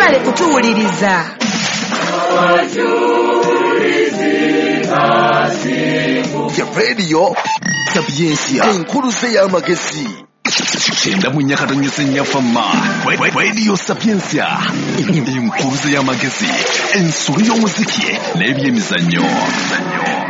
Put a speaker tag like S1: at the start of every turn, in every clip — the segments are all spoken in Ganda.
S1: Mwebale kutuwuliriza.
S2: Ya Radio Sapientia, enkuluze y'amagezi.
S3: 94.4 Fama Radio Sapientia, enkuluze y'amagezi, ensolo y'omuziki n'ebyemizannyo.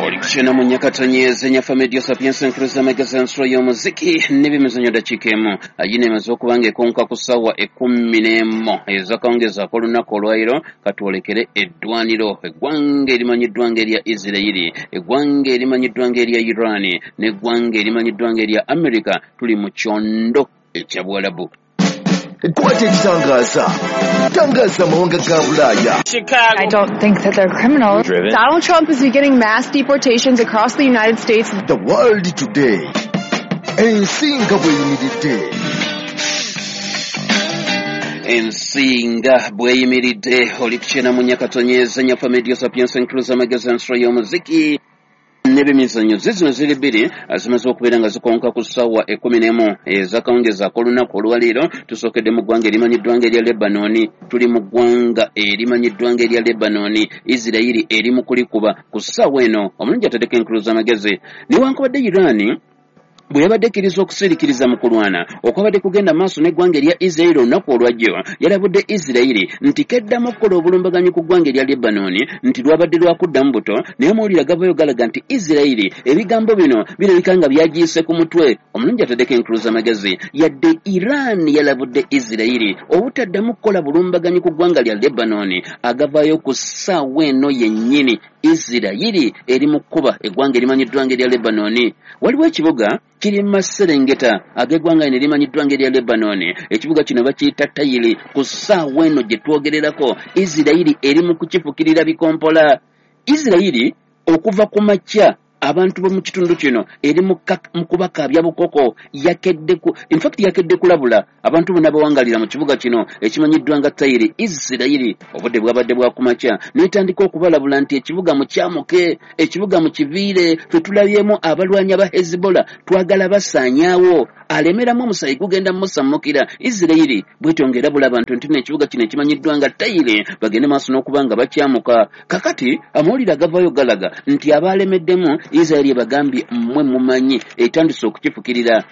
S4: Oli kukyena mu nyakatonyeze nyafa Radio Sapientia, enkuluze y'amagezi, ensolo y'omuziki n'ebyemizannyo. Dakiika emu ayina emaze okuba nga ekonka ku ssaawa 11 ezakawungezaako olunaku olwayiro. Katwolekere eddwaniro, eggwanga erimanyiddwa ng'erya Isirayiri, eggwanga erimanyiddwa ng'erya Iran n'eggwanga erimanyiddwa ng'erya America. Tuli mu kyondo ekya Buwalabu.
S2: Kwata ekitangaza, tangaza amawanga ga Bulaaya.
S1: I don't think that they're criminals.
S5: Donald Trump is beginning mass deportations across the United States.
S2: The World Today, ensi nga bweyimiridde.
S4: Ensi nga bweyimiridde. Oli kukyena mu nyakatonyeza nyafa Radio Sapientia, enkuluza amagezi, ensolo y'omuziki n'ebyemizannyo. Zizino ziri bbiri zimaze okubeera nga zikonka ku ssaawa 11 ezakawungezaako olunaku olwaleero. Tusookedde mu ggwanga erimanyiddwa ng'erya Lebanoni. Tuli mu ggwanga erimanyiddwa ng'erya Lebanoni. Isirayiri eri mu kulikuba ku ssaawa eno. Omulungi ataddeko enkuluza amagezi, newankubadde Irani bwe yabadde ekkiriza okusirikiriza mu kulwana okwabadde kugenda maaso n'eggwanga erya Isirayiri olunaku olwajjo, yalabudde Isirayiri nti keddamu okukola obulumbaganyi ku ggwanga erya Lebanoni, nti lwabadde lwakuddamu buto. Naye amawulire agavayo galaga nti Isirayiri ebigambo bino birabika nga byagiyise ku mutwe. Omulungi ataddeko enkuluza amagezi, yadde Iran yalabudde Isirayiri obutaddamu kukola bulumbaganyi ku ggwanga lya Lebanoni, agavayo ku ssaawa eno yennyini Isirayiri eri mu kkuba eggwanga erimanyiddwa ng'erya Lebanoni. Waliwo ekibuga kiri mu maserengeta ag'eggwanga lino erimanyiddwa ng'erya Lebanoni. Ekibuga kino bakiyita Tayiri. Ku ssaawa eno gye twogererako, Isirayiri eri mu kukifukirira bikompola. Isirayiri okuva ku makya abantu b'omu kitundu kino eri mu kubakaabya bukoko. Yakedde ku, in fact yakedde kulabula abantu bonna abawangalira mu kibuga kino ekimanyiddwa nga Tayiri. Isirayiri obudde bwabadde bwakumakya n'etandika okubalabula nti ekibuga mukyamuke, ekibuga mukiviire, ffe tulabyemu abalwanyi aba Hezbollah, twagala basaanyaawo, alemeramu omusayi gugenda musammukira. Isirayiri bwetyo ng'erabula abantu nti n'ekibuga kino ekimanyiddwa nga Tayiri bagende maaso n'okuba nga bakyamuka. Kakati amawulire agavayo galaga nti abalemeddemu, Isirayiri ebagambye mmwe mumanyi, etandise okukifukirira.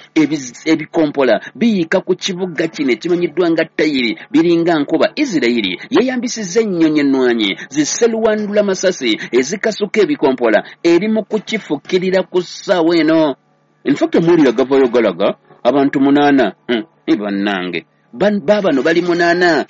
S4: Ebikompola biyiika ku kibuga kino ekimanyiddwa nga Tayiri biringa nkuba. Isirayiri yeeyambisizza ennyonyi ennwanyi ziseluwandula masasi ezikasuka ebikompola, eri mu kukifukirira ku ssaawa eno. In fact amawulire agavayo galaga abantu 8, bannange baabano bali 8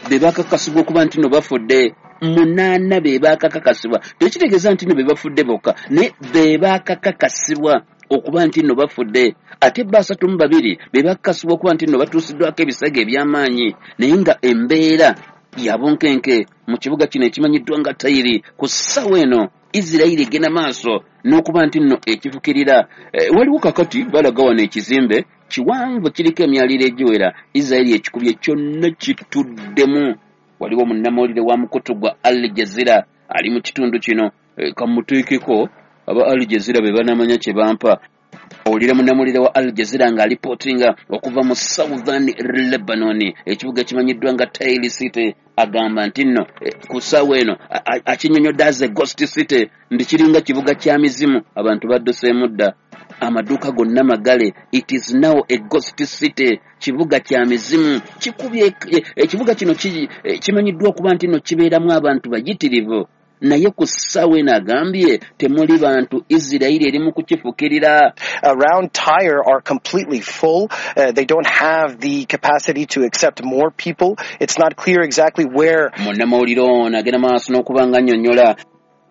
S4: be bakakasibwa okuba nti no bafudde. 8 be bakakakasibwa. Tekitegeeza nti no be bafudde bokka, naye be bakakakasibwa okuba nti no bafudde. Ate 32 be bakakasibwa okuba nti no batuusiddwako ebisago eby'amaanyi, naye nga embeera ya bunkenke mu kibuga kino ekimanyiddwa nga Tayiri. Ku ssaawa eno Isirayiri egenda maaso n'okuba nti nno ekifukirira. Waliwo kakati balaga wano ekizimbe kiwanvu kiriko emyaliro egiwera. Isirayiri ekikubye kyonna kituddemu. Waliwo munnamawulire wa mukutu gwa Al Jazeera ali mu kitundu kino. Kamuteekeko aba Al Jazeera be banamanya kye bampa. Owulira munnamawulire wa Al Jazeera ng'alipootinga okuva mu Southern Lebanon, ekibuga ekimanyiddwa nga Tayiri City, agamba nti nno ku ssaawa eno akinnyonnyodde as a ghost city, nti kiringa kibuga kya mizimu, abantu badduseemu dda, amaduuka gonna magale. It is now a ghost city, kibuga kya mizimu kikubye. Ekibuga kino kimanyiddwa okuba nti nno kibeeramu abantu bayitirivu, naye ku ssaawa eno agambye temuli bantu. Isirayiri eri mu kukifukirira.
S6: Around Tyre are completely full. They don't have the capacity to accept more people. It's not clear exactly where.
S4: Munnamawulire ono agenda maaso n'okuba nga nnyonnyola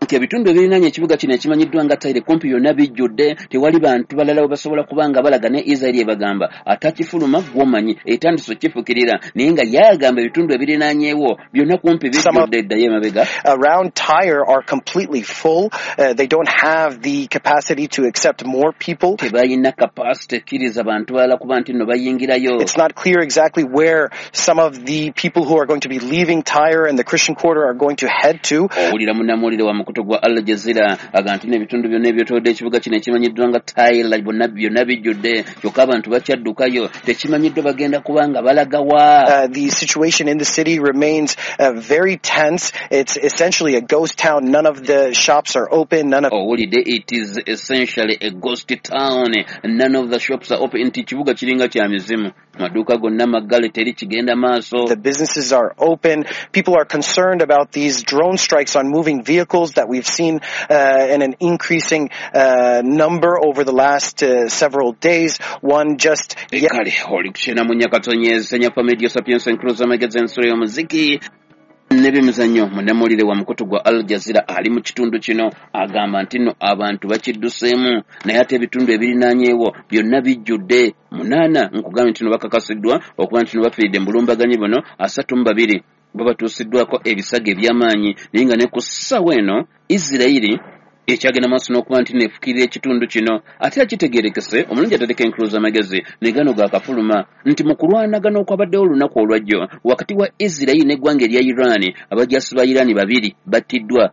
S4: nti ebitundu ebirinaanye ekibuga kino ekimanyiddwa nga Tayiri kumpi byonna bijjudde, tewali bantu balala we basobola kuba nga balaga. Ne Isirayiri ebagamba atakifuluma gw'omanyi, etandise okukifukirira, naye nga yagamba ebitundu ebirinaanyeewo byonna kumpi bijjudde. Eddayo emabega.
S6: Around Tyre are completely full. They don't have the capacity to accept more people.
S4: Tebalina capacity ekkiriza bantu balala kuba nti nno bayingirayo.
S6: It's not clear exactly where some of the people who are going to be leaving Tyre and the Christian quarter are going to head to.
S4: Owulira munnamawulire wa mukutu gwa Al Jazeera aga nti n'ebitundu byonna ebyetoolodde ekibuga kino ekimanyiddwa nga Tyre bonna byonna bijjudde, kyokka abantu bakyaddukayo, tekimanyiddwa bagenda kubanga balagawa.
S6: The situation in the city remains very tense. It's essentially a ghost town. None of the shops are open. None of
S4: Owulidde, it is essentially a ghost town. None of the shops are open. Nti kibuga kiringa kya mizimu, maduuka gonna maggale, teri kigenda maaso.
S6: The businesses are open. People are concerned about these drone strikes on moving vehicles that we've seen in an increasing number over the last several days. One just
S4: Kale oli kukyena mu Nyakatonyeze Nyafa Media Sapiens Encruza Magazine, ensolo y'omuziki n'ebyemizannyo. Munnamawulire wa mukutu gwa Al Jazeera ali mu kitundu kino agamba nti nno abantu bakidduseemu, naye ate ebitundu ebirinaanyeewo byonna bijjudde. 8 nkugambye nti no bakakasiddwa okuba nti no bafiiridde mu bulumbaganyi buno, 32 babatuusiddwako ebisago eby'amaanyi, naye nga ne ku ssaawa eno Isirayiri ekyagenda maaso n'okuba nti neefukirira ekitundu kino. Ate akitegeerekese omulungi atereka enkuluza amagezi ne gano gaakafuluma nti mu kulwanagana okwabaddewo olunaku olwajjo wakati wa Isirayiri n'eggwanga erya Iran, abajaasi ba Iran 2 battiddwa.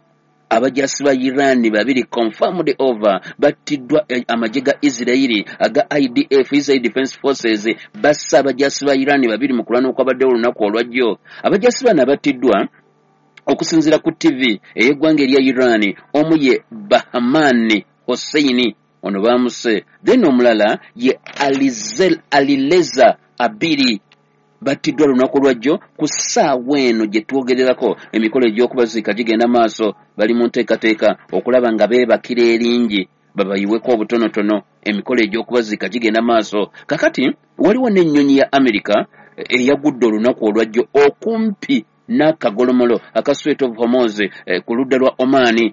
S4: Abajaasi ba Iran 2 confirmed over battiddwa amagye ga Isirayiri aga IDF, Israel Defense Forces, bassa abajaasi ba Iran 2 mu kulwana okwabaddewo olunaku olwajjo. Abajaasi bano abattiddwa okusinziira ku TV ey'eggwanga erya Iran, omu ye Bahman Hosseini, ono baamuse, then omulala ye Alireza Abiri, battiddwa lunaku lwajjo. Ku ssaawa eno gye twogererako emikolo egy'okubaziika gigenda maaso, bali mu nteekateeka okulaba nga beebakira eringi babayiweko obutonotono, emikolo egy'okubaziika gigenda maaso. Kakati waliwo n'ennyonyi ya Amerika eyagudde olunaku olwajjo okumpi n'akagolomolo aka Strait of Hormuz ku ludda lwa Oman.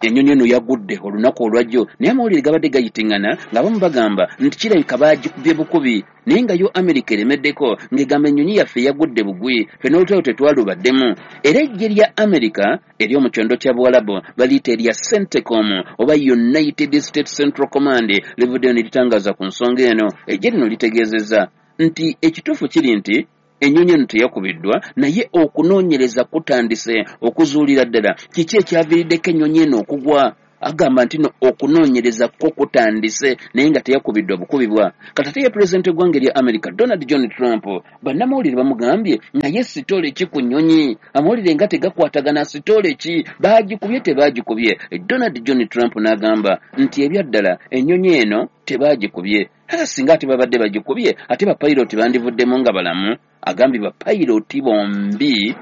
S4: Ennyonyi eno yagudde olunaku olwajjo, naye amawulire gabadde gayitiŋŋana ng'abamu bagamba nti kirabika baagikubye bukubi, naye nga yo Amerika eremeddeko ng'egamba ennyonyi yaffe yagudde bugwi, ffe n'olutalo tetwalubaddemu. Era eggye lya Amerika ery'omu kyondo kya Buwalabu baliyita erya CENTCOM oba United States Central Command livuddeyo ne litangaaza ku nsonga eno. Eggye lino litegeezezza nti ekituufu kiri nti ennyonyi eno teyakubiddwa, naye okunoonyereza kutandise okuzuulira ddala kiki ekyaviiriddeko ennyonyi eno okugwa. Agamba nti no okunoonyereza kwo kutandise, naye nga teyakubiddwa bukubibwa. Kati ate ye pulezidenti w'eggwanga erya America Donald John Trump, bannamawulire bamugambye naye sitole ki ku nnyonyi, amawulire nga tegakwatagana, sitole ki, baagikubye tebaagikubye? Donald John Trump n'agamba nti ebyaddala ennyonyi eno tebaagikubye, ate singa ate babadde bagikubye ate bapayiroti bandivuddemu nga balamu. Agambye bapayiroti bombi,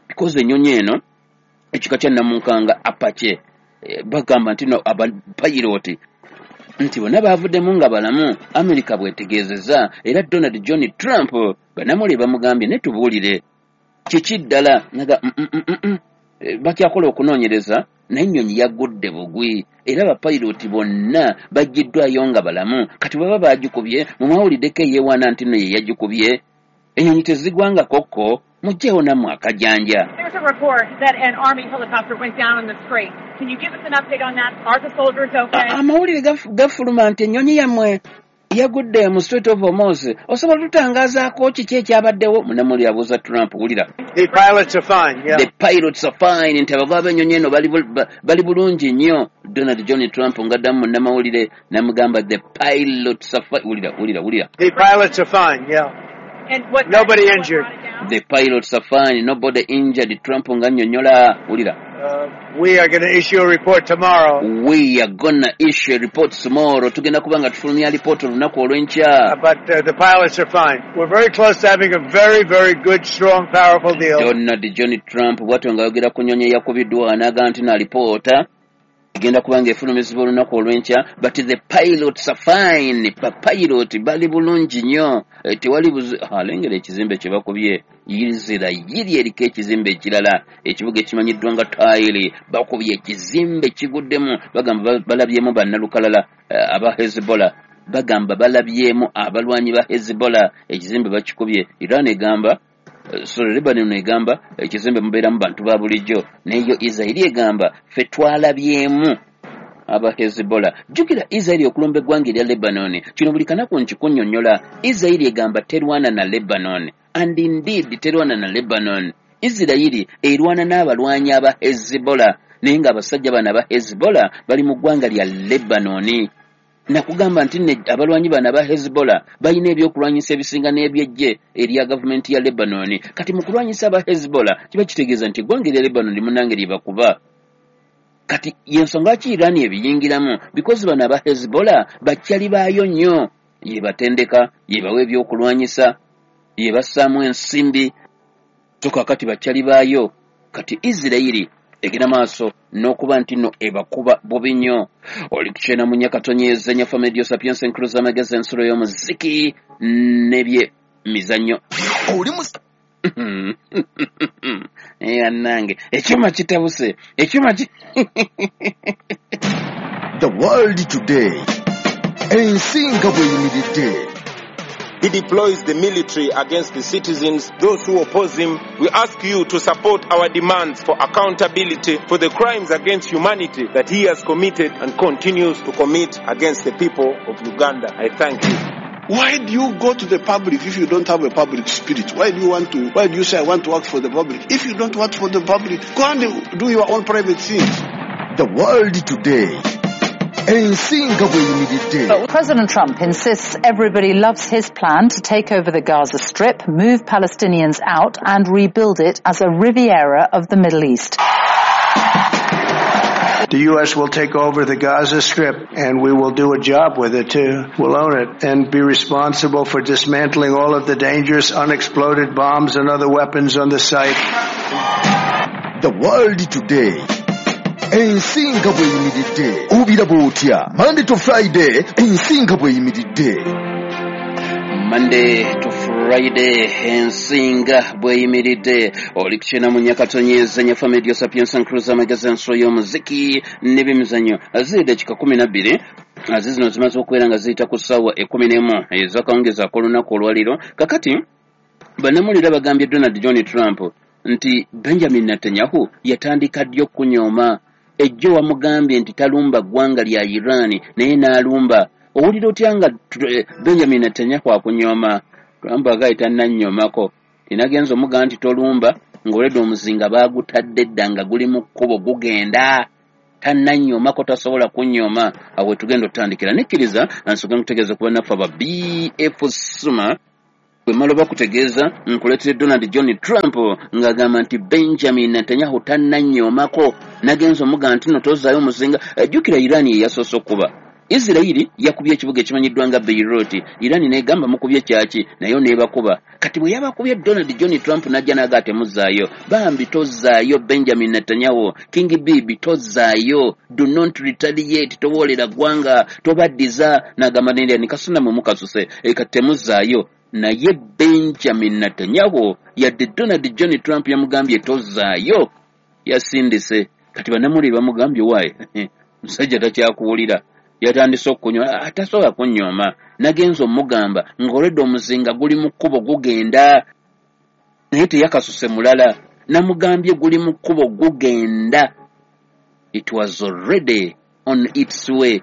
S4: because ennyonyi eno ekika kya Namunkanga Apache, bagamba nti no abapayiroti nti bonna baavuddemu nga balamu, Amerika bwetegeezezza. Era Donald John Trump bannamawulire bamugambye ne tubuulire kiki ddala, naga bakyakola okunoonyereza, naye ennyonyi yagudde bugwi era bapayiroti bonna baggiddwayo nga balamu. Kati baba baagikubye, mumwawuliddeko eyeewaana nti nno ye yagikubye, ennyonyi tezigwanga kokko, mugyewo nammwe akajanja.
S1: There's a report that an army helicopter went down in the strait. Can you give us an update on that? Are the soldiers okay?
S4: Amawulire gafuluma nti ennyonyi yammwe yagudde mu Strait of Hormuz, osobola tutangaazaako kiki ekyabaddewo? Munnamawulire abuuza Trump. Wulira.
S7: The pilots are fine, yeah.
S4: The pilots are fine, nti abagoba b'ennyonyi eno bali bulungi nnyo. Donald John Trump ng'addamu munnamawulire n'amugamba the pilots are fine. Wulira, wulira, wulira.
S7: The pilots are fine, yeah.
S1: And what,
S7: Nobody injured.
S4: The pilots are fine, nobody injured. Trump ng'annyonnyola. Wulira.
S7: We are going to issue a report tomorrow.
S4: We are gonna issue a report tomorrow. Tugenda kuba nga tufulumya alipoota olunaku olw'enkya.
S7: But the pilots are fine. We're very close to having a very, very good, strong, powerful deal.
S4: Donald John Trump bw'atyo ng'ayogera ku nnyonyi eyakubiddwa n'agamba nti n'alipoota egenda kuba ng'efulumizibwa olunaku olw'enkya, but the pilots are fine, bapilot bali bulungi nnyo, tewali buzi. Alengera ekizimbe kye bakubye, Isirayiri eriko ekizimbe ekirala, ekibuga ekimanyiddwa nga Tyre, bakubye ekizimbe kiguddemu, bagamba balabyemu bannalukalala aba Hezbollah, bagamba balabyemu abalwanyi ba Hezbollah, ekizimbe bakikubye. Iran egamba, sorry, Lebanon egamba ekizimbe mubeeramu bantu ba bulijjo, naye yo Isirayiri egamba ffe twalabyemu aba Hezbollah. Jjukira Isirayiri okulumba eggwanga erya Lebanon, kino buli kanaku nkikunnyonnyola. Isirayiri egamba terwana na Lebanon, and indeed terwana na Lebanon. Isirayiri erwana n'abalwanyi aba Hezbollah. Naye ng'abasajja bano aba Hezbollah bali mu ggwanga lya Lebanoni. Nakugamba nti abalwanyi bano aba Hezbollah balina ebyokulwanyisa ebisinga n'ebyejje erya gavumenti ya Lebanoni. Kati mu kulwanyisa aba Hezbollah kiba kitegeeza nti eggwanga erya Lebanoni munnange lyebakuba. Kati yensonga ki Iran ebiyingiramu? Because bano aba Hezbollah bakyali baayo nnyo, yebatendeka, yebawa ebyokulwanyisa, yebassaamu ensimbi, so kakati bakyali baayo. Kati Isirayiri egenda maaso n'okuba nti nno ebakuba bubi nnyo. Oli kukyena mu Nyakatonyeza Nyafa Medio Sapienza Enkuluza Amagezi, ensulo y'omuziki n'ebyemizannyo.
S2: Oli mu
S4: Annange, ekyuma kitabuse, ekyuma ki
S2: The World Today, ensi nga bw'eyimiridde.
S8: He deploys the military against the citizens, those who oppose him. We ask you to support our demands for accountability for the crimes against humanity that he has committed and continues to commit against the people of Uganda. I thank you.
S9: Why do you go to the public if you don't have a public spirit? Why do you want to, why do you say I want to work for the public? If you don't work for the public, go and do your own private things.
S2: The World Today, ensi nga bw'eyimiridde.
S10: President Trump insists everybody loves his plan to take over the Gaza Strip, move Palestinians out and rebuild it as a Riviera of the Middle East.
S7: The U.S. will take over the Gaza Strip, and we will do a job with it too. We'll own it and be responsible for dismantling all of the dangerous unexploded bombs and other weapons on the site.
S2: The World Today, ensi nga bw'eyimiridde. Obiraba otya? Monday to Friday, ensi nga bw'eyimiridde.
S4: Monday to Friday, ensinga bw'eyimiridde. Oli kukyena mu Nyakatonyeza Nyafa Medio Sapienza Nkuluza Amagezi, ensulo y'omuziki n'ebyemizannyo. Ziri dakika 12 zino zimaze okubeera nga ziyita ku ssaawa 11 ez'akawungeezi ak'olunaku olwaleero. Kakati bannamawulire bagambye Donald John Trump nti Benjamin Netanyahu yatandika ddi okunyooma? Ejjo wamugambye nti talumba ggwanga lya Iran, naye n'alumba. Owulira otya nga Benjamin Netanyahu akunyooma? Trump agaye tannanyoomako. Tinagenza omugamba nti tolumba, ng'oledde omuzinga baagutadde dda nga guli mu kkubo gugenda. Tannanyoomako, tasobola kunyooma. Awo we tugenda otutandikira. Nekkiriza nsooke nkutegeeze ku bannaffe aba BF Suma. Bwe mmala bakutegeeza nkuleetera Donald John Trump ng'agamba nti Benjamin Netanyahu tannanyoomako. Nagenza omugamba nti no tozzaayo omuzinga. Jjukira Iran ye yasoose okuba. Isirayiri yakubye ekibuga ekimanyiddwa nga Beirut. Iran n'egamba mukubye kyaki, nayo n'ebakuba. Kati bwe yabakubye Donald John Trump n'ajja n'aga temuzzaayo. Bambi tozzaayo Benjamin Netanyahu, King Bibi tozzaayo, do not retaliate, towoolera ggwanga, tobaddiza. N'agamba nendya nikasuna mwe mukasuse, kati temuzzaayo. Naye Benjamin Netanyahu yadde Donald John Trump yamugambye tozzaayo, yasindise. Kati bannamawulire bamugambye waaye musajja takyakuwulira, yatandise okunywa, atasobola kunyooma. Nagenza omugamba ng'olwedde omuzinga guli mu kkubo gugenda, naye teyakasuse mulala. Namugambye guli mu kkubo gugenda, it was already on its way.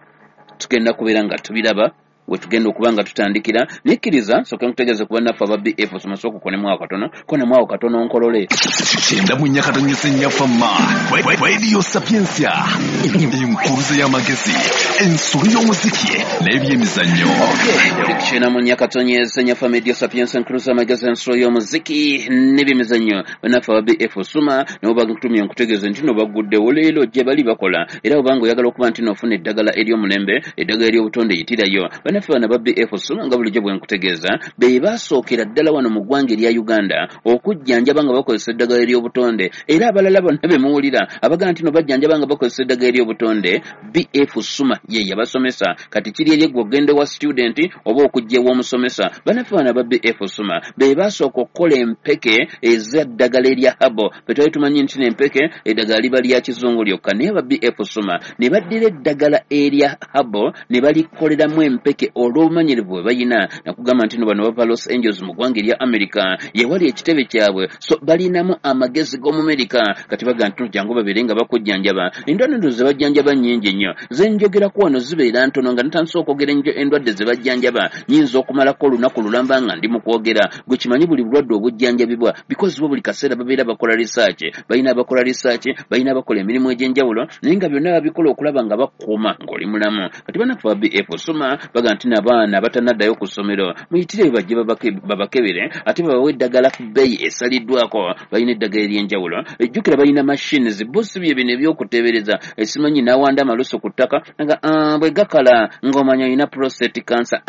S4: Tugenda kubeera nga tubiraba we tugenda okuba nga tutandikira. Nekkiriza nsooke nkutegeeze ku bannaffe aba BF Soma, konemu awo katono, konemu awo katono nkolole.
S3: Kyenda mu Nyakatonyeza Nyafa Ma Radio Sapientia, enkuruza y'amagezi, ensulo y'omuziki n'ebyemizannyo.
S4: Oli kukyena mu Nyakatonyeza Nyafa Medio Sapienza Enkuluza Amagezi, ensulo y'omuziki n'ebyemizannyo. Bannaffe aba BF Suma nabo bakutumye nkutegeeze nti no baguddewo leero gye bali bakola, era obanga oyagala okuba nti n'ofuna eddagala ery'omulembe, eddagala ery'obutonde, yitirayo. Bannaffe bano aba BF Suma nga bulijjo bwe nkutegeeza be basookera ddala wano mu ggwanga erya Uganda okujjanjaba nga bakozesa eddagala ery'obutonde. Era abalala bonna be muwulira abagamba nti no bajjanjaba nga bakozesa eddagala ery'obutonde, BF Suma ye yabasomesa. Kati kiri eri ggwe ogenda wa student oba okujja ew'omusomesa. Bannaffe bano aba BF Suma be basooka okukola empeke ez'eddagala erya habo. Ffe twali tumanyi nti n'empeke eddagala liba lya kizungu lyokka, naye aba BF Suma ne baddira eddagala erya habo ne balikoleramu empeke Babaleetedde olw'obumanyirivu bwe balina. Nakugamba nti no bano bava Los Angeles mu ggwanga erya America, yewali ekitebe kyabwe, so balinamu amagezi g'Omumerika. Kati baga nti jangu babeere nga bakujjanjaba. Endwadde ze bajjanjaba nnyingi nnyo, ze njogerako wano zibeera ntono. Nga natandise okwogera endwadde ze bajjanjaba, nyinza okumalako olunaku lulamba nga ndi mu kwogera. Gwe kimanyi buli bulwadde obujjanjabibwa, because bo buli kaseera babeera bakola research, balina abakola research, balina abakola emirimu egy'enjawulo, naye nga byonna babikola okulaba nga bakuuma ng'oli mulamu. Kati bannaffe ba BF Suma baga nti n'abaana abatannaddayo ku ssomero muyitire bajje babakebere, ate babawe eddagala ku bbeeyi esaliddwako. Balina eddagala ery'enjawulo, ejjukira balina machines, bo si bye bino ebyokuteebereza esimanyi n'awanda amalusu ku ttaka nga bwe gakala ng'omanya olina prostate cancer.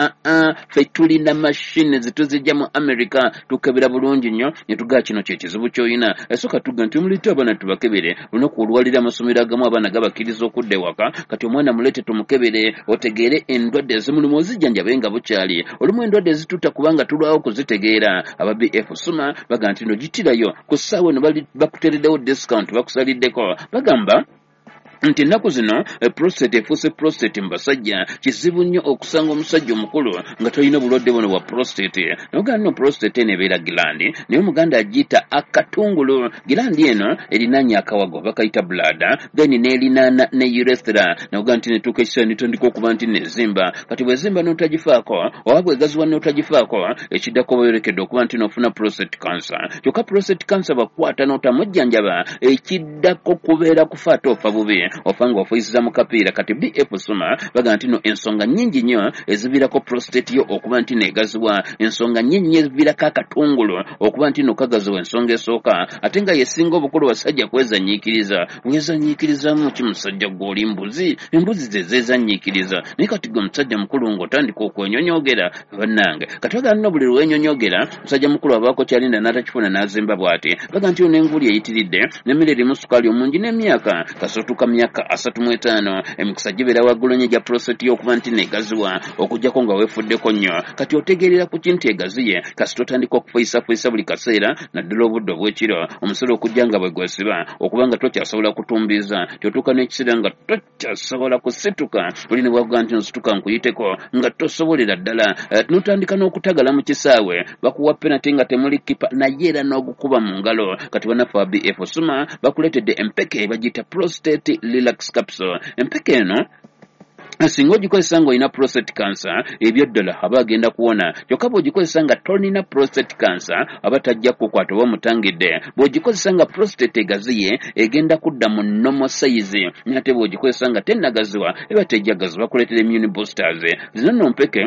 S4: Ffe tulina machines, tuzijja mu America, tukebera bulungi nnyo ne tugaa kino kye kizibu ky'olina. Esooka tuga nti muleete abaana tubakebere. Olunaku olwaliro amasomero agamu abaana gabakkiriza okudda ewaka. Kati omwana muleete tumukebere, otegeere endwadde ezimulimu, ozijjanjabe nga bukyali. Olumu endwadde ezitutta kubanga tulwawo kuzitegeera. Aba BF Suma baga nti no gitirayo ku ssaawa eno, bakuteereddewo discount, bakusaliddeko. Bagamba nti ennaku zino prostate efuuse prostate mu basajja. Kizibu nnyo okusanga omusajja omukulu nga tolina bulwadde buno bwa prostate. Naye nno prostate eno ebeera gland, naye Omuganda agiyita akatungulu. Gland eno erinaanye akawago bakayita bladder, then n'erinaana ne urethra. Nakuga nti netuuka ekiseera netandika okuba nti nezimba. Kati bwezimba n'otagifaako, oba bwegaziwa n'otagifaako, ekiddako bayolekedde okuba nti n'ofuna prostate cancer. Kyokka prostate cancer bakwata n'otamujjanjaba, ekiddako kubeera kufa, ate ofa bubi, ofa nga ofuisiza mu kapiira. Kati BF Suma baga nti no ensonga nnyingi nnyo eziviirako prostate yo okuba nti negaziwa, ensonga nnyingi nnyo eziviirako akatungulu okuba nti no kagaziwa. Ensonga esooka, ate nga yesinga obukulu, basajja kwezanyiikiriza. Wezanyiikirizamu ki musajja gw'oli mbuzi? Embuzi ze zeezanyiikiriza, naye kati gwe musajja mukulu ng'otandika okwenyonyogera. Bannange, kati baga nno buli lwenyonyogera musajja mukulu abaako kyalinda n'atakifuna n'azimba bw'ati. Baga nti yo n'enguuli eyitiridde, n'emmere erimu sukaali omungi, n'emyaka kasootuka myaka 35, emikisa gibeera waggulu nnyo egya prostate yo okuba nti negaziwa, okuggyako nga weefuddeko nnyo. Kati otegeerera ku ki nti egaziye? Kasita otandika okufuyisafuyisa buli kaseera, naddala obudde obw'ekiro, omusolo okujja nga bwe gwesiba, okuba nga tokyasobola kutumbiiza, tyotuuka n'ekiseera nga tokyasobola kusituka. Oli ne bwakuga nti nsituka nkuyiteko, nga tosobolera ddala. N'otandika n'okutagala mu kisaawe, bakuwa penalty nga temuli kipa, naye era n'ogukuba mu ngalo. Kati bannaffe ba BF Suma bakuleetedde empeke bagiyita Prostate Relax Capsule. Empeke eno singa ogikozesa ng'olina prostate cancer, ebyo ddala aba agenda kuwona. Kyokka bw'ogikozesa nga tolina prostate cancer, aba tajja kukukwata oba omutangidde. Bw'ogikozesa nga prostate egaziye, egenda kudda mu normal size, naye ate bw'ogikozesa nga tennagaziwa, eba tejja gaziwa. Bakuleetera immune boosters. Zino nno mpeke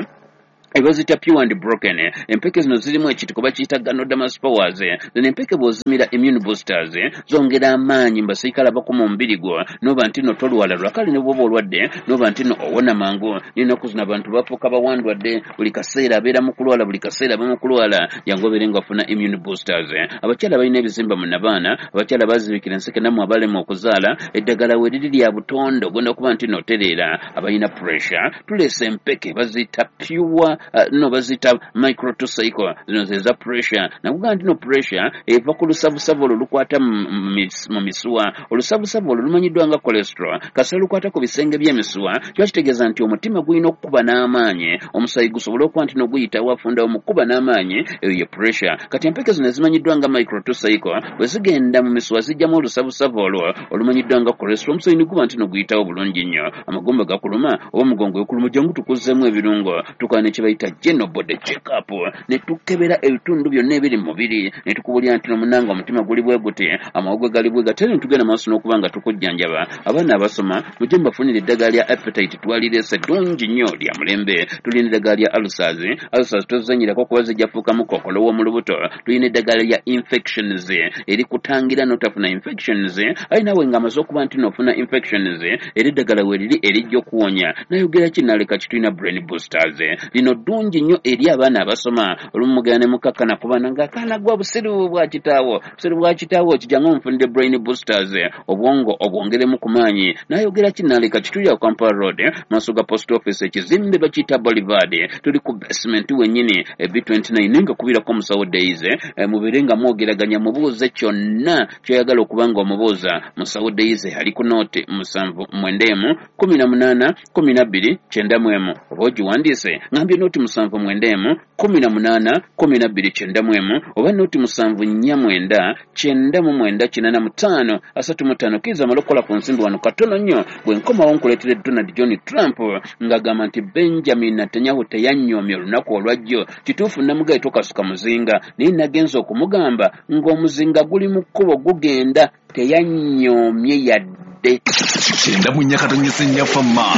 S4: ebazita pure and broken. Empeke zino zirimu ekitiko bakiyita Ganoderma spores. Zino empeke bw'ozimira immune boosters, zongera amaanyi mu basirikale abakuma omubiri gwo, noba nti no tolwala lwakale, ne bw'oba olwadde noba nti no owona mangu. N'ennaku zino abantu bafuuka bawandwadde, buli kaseera abeera mu kulwala, buli kaseera aba mu kulwala. Jangu obeere nga ofuna immune boosters. Abakyala balina ebizimba mu nabaana, abakyala bazibikira enseke, nammwe abalema okuzaala, eddagala we liri lya butonde, ogenda kuba nti notereera. Abalina pressure, tuleese empeke baziyita pure, no baziyita microtocycle. Zino ze za pressure. Nakugamba nti no pressure eva ku lusavusavu olwo lukwata mu misuwa. Olusavusavu olwo lumanyiddwa nga cholesterol. Kasita lukwata ku bisenge by'emisuwa, kiba kitegeeza nti omutima gulina okukuba n'amaanyi, omusaayi gusobole okuba nti noguyitawo afundawo mu kukuba n'amaanyi. Eyo ye pressure. Kati empeke zino ezimanyiddwa nga microtocycle bwe zigenda mu misuwa, zijjamu olusavusavu olwo olumanyiddwa nga cholesterol, omusaayi ne guba nti noguyitawo bulungi nnyo. Amagumba gakuluma oba omugongo gukuluma, jangu tukuzzemu ebirungo. Tukola ne kye bayita general body check up, ne tukebera ebitundu byonna ebiri mu mubiri, ne tukubulira nti nomunanga omutima guli bwe guti, amawuggwe gali bwe gati, ate ne tugenda maaso n'okuba nga tukujjanjaba. Abaana abasoma, mujje mubafunire eddagala lya appetite, twalireese ddungi nnyo, lya mulembe. Tulina eddagala lya ulcers. Ulcers tozanyirako kuba zijjafuukamu kookolo w'omu lubuto. Tulina eddagala lya infections erikutangira n'otafuna infections, aye naawe ng'amaze okuba nti n'ofuna infections, era eddagala we liri erijja okuwonya. Nayogera ki naleka ki? Tulina brain boosters. Lino ddungi nnyo eri abaana abasoma. Olumu mugenda ne mukakkana ku baana ng'akaana gwa busiru bwa kitaawo, busiru bwa kitaawo, kijjangu omufunire brain boosters, obwongo obwongeremu ku maanyi. N'ayogera kinaaleka kitulira ku Kampala Road, maaso ga post office, ekizimbe bakiyita Boulevard, tuli ku basement wennyini B29, nga kubirako omusawo Daisy. Mubeere nga mwogeraganya, mubuuze kyonna ky'oyagala okuba nga omubuuza. Musawo Daisy ali ku nooti 79 18 12 91, oba ogiwandiise ngambye nooti 79 18 12 91, oba nooti 749 99 85 35. Kkiriza amale okukola ku nsimbi wano katono nnyo, bwe nkomawo nkuleetere Donald John Trump ng'agamba nti Benjamin Netanyahu teyanyoomye olunaku olwajjo. Kituufu namugaye tokasuka muzinga, naye nagenza okumugamba ng'omuzinga guli mu kkubo gugenda, teyanyoomye yadde.
S3: 94.4 Fama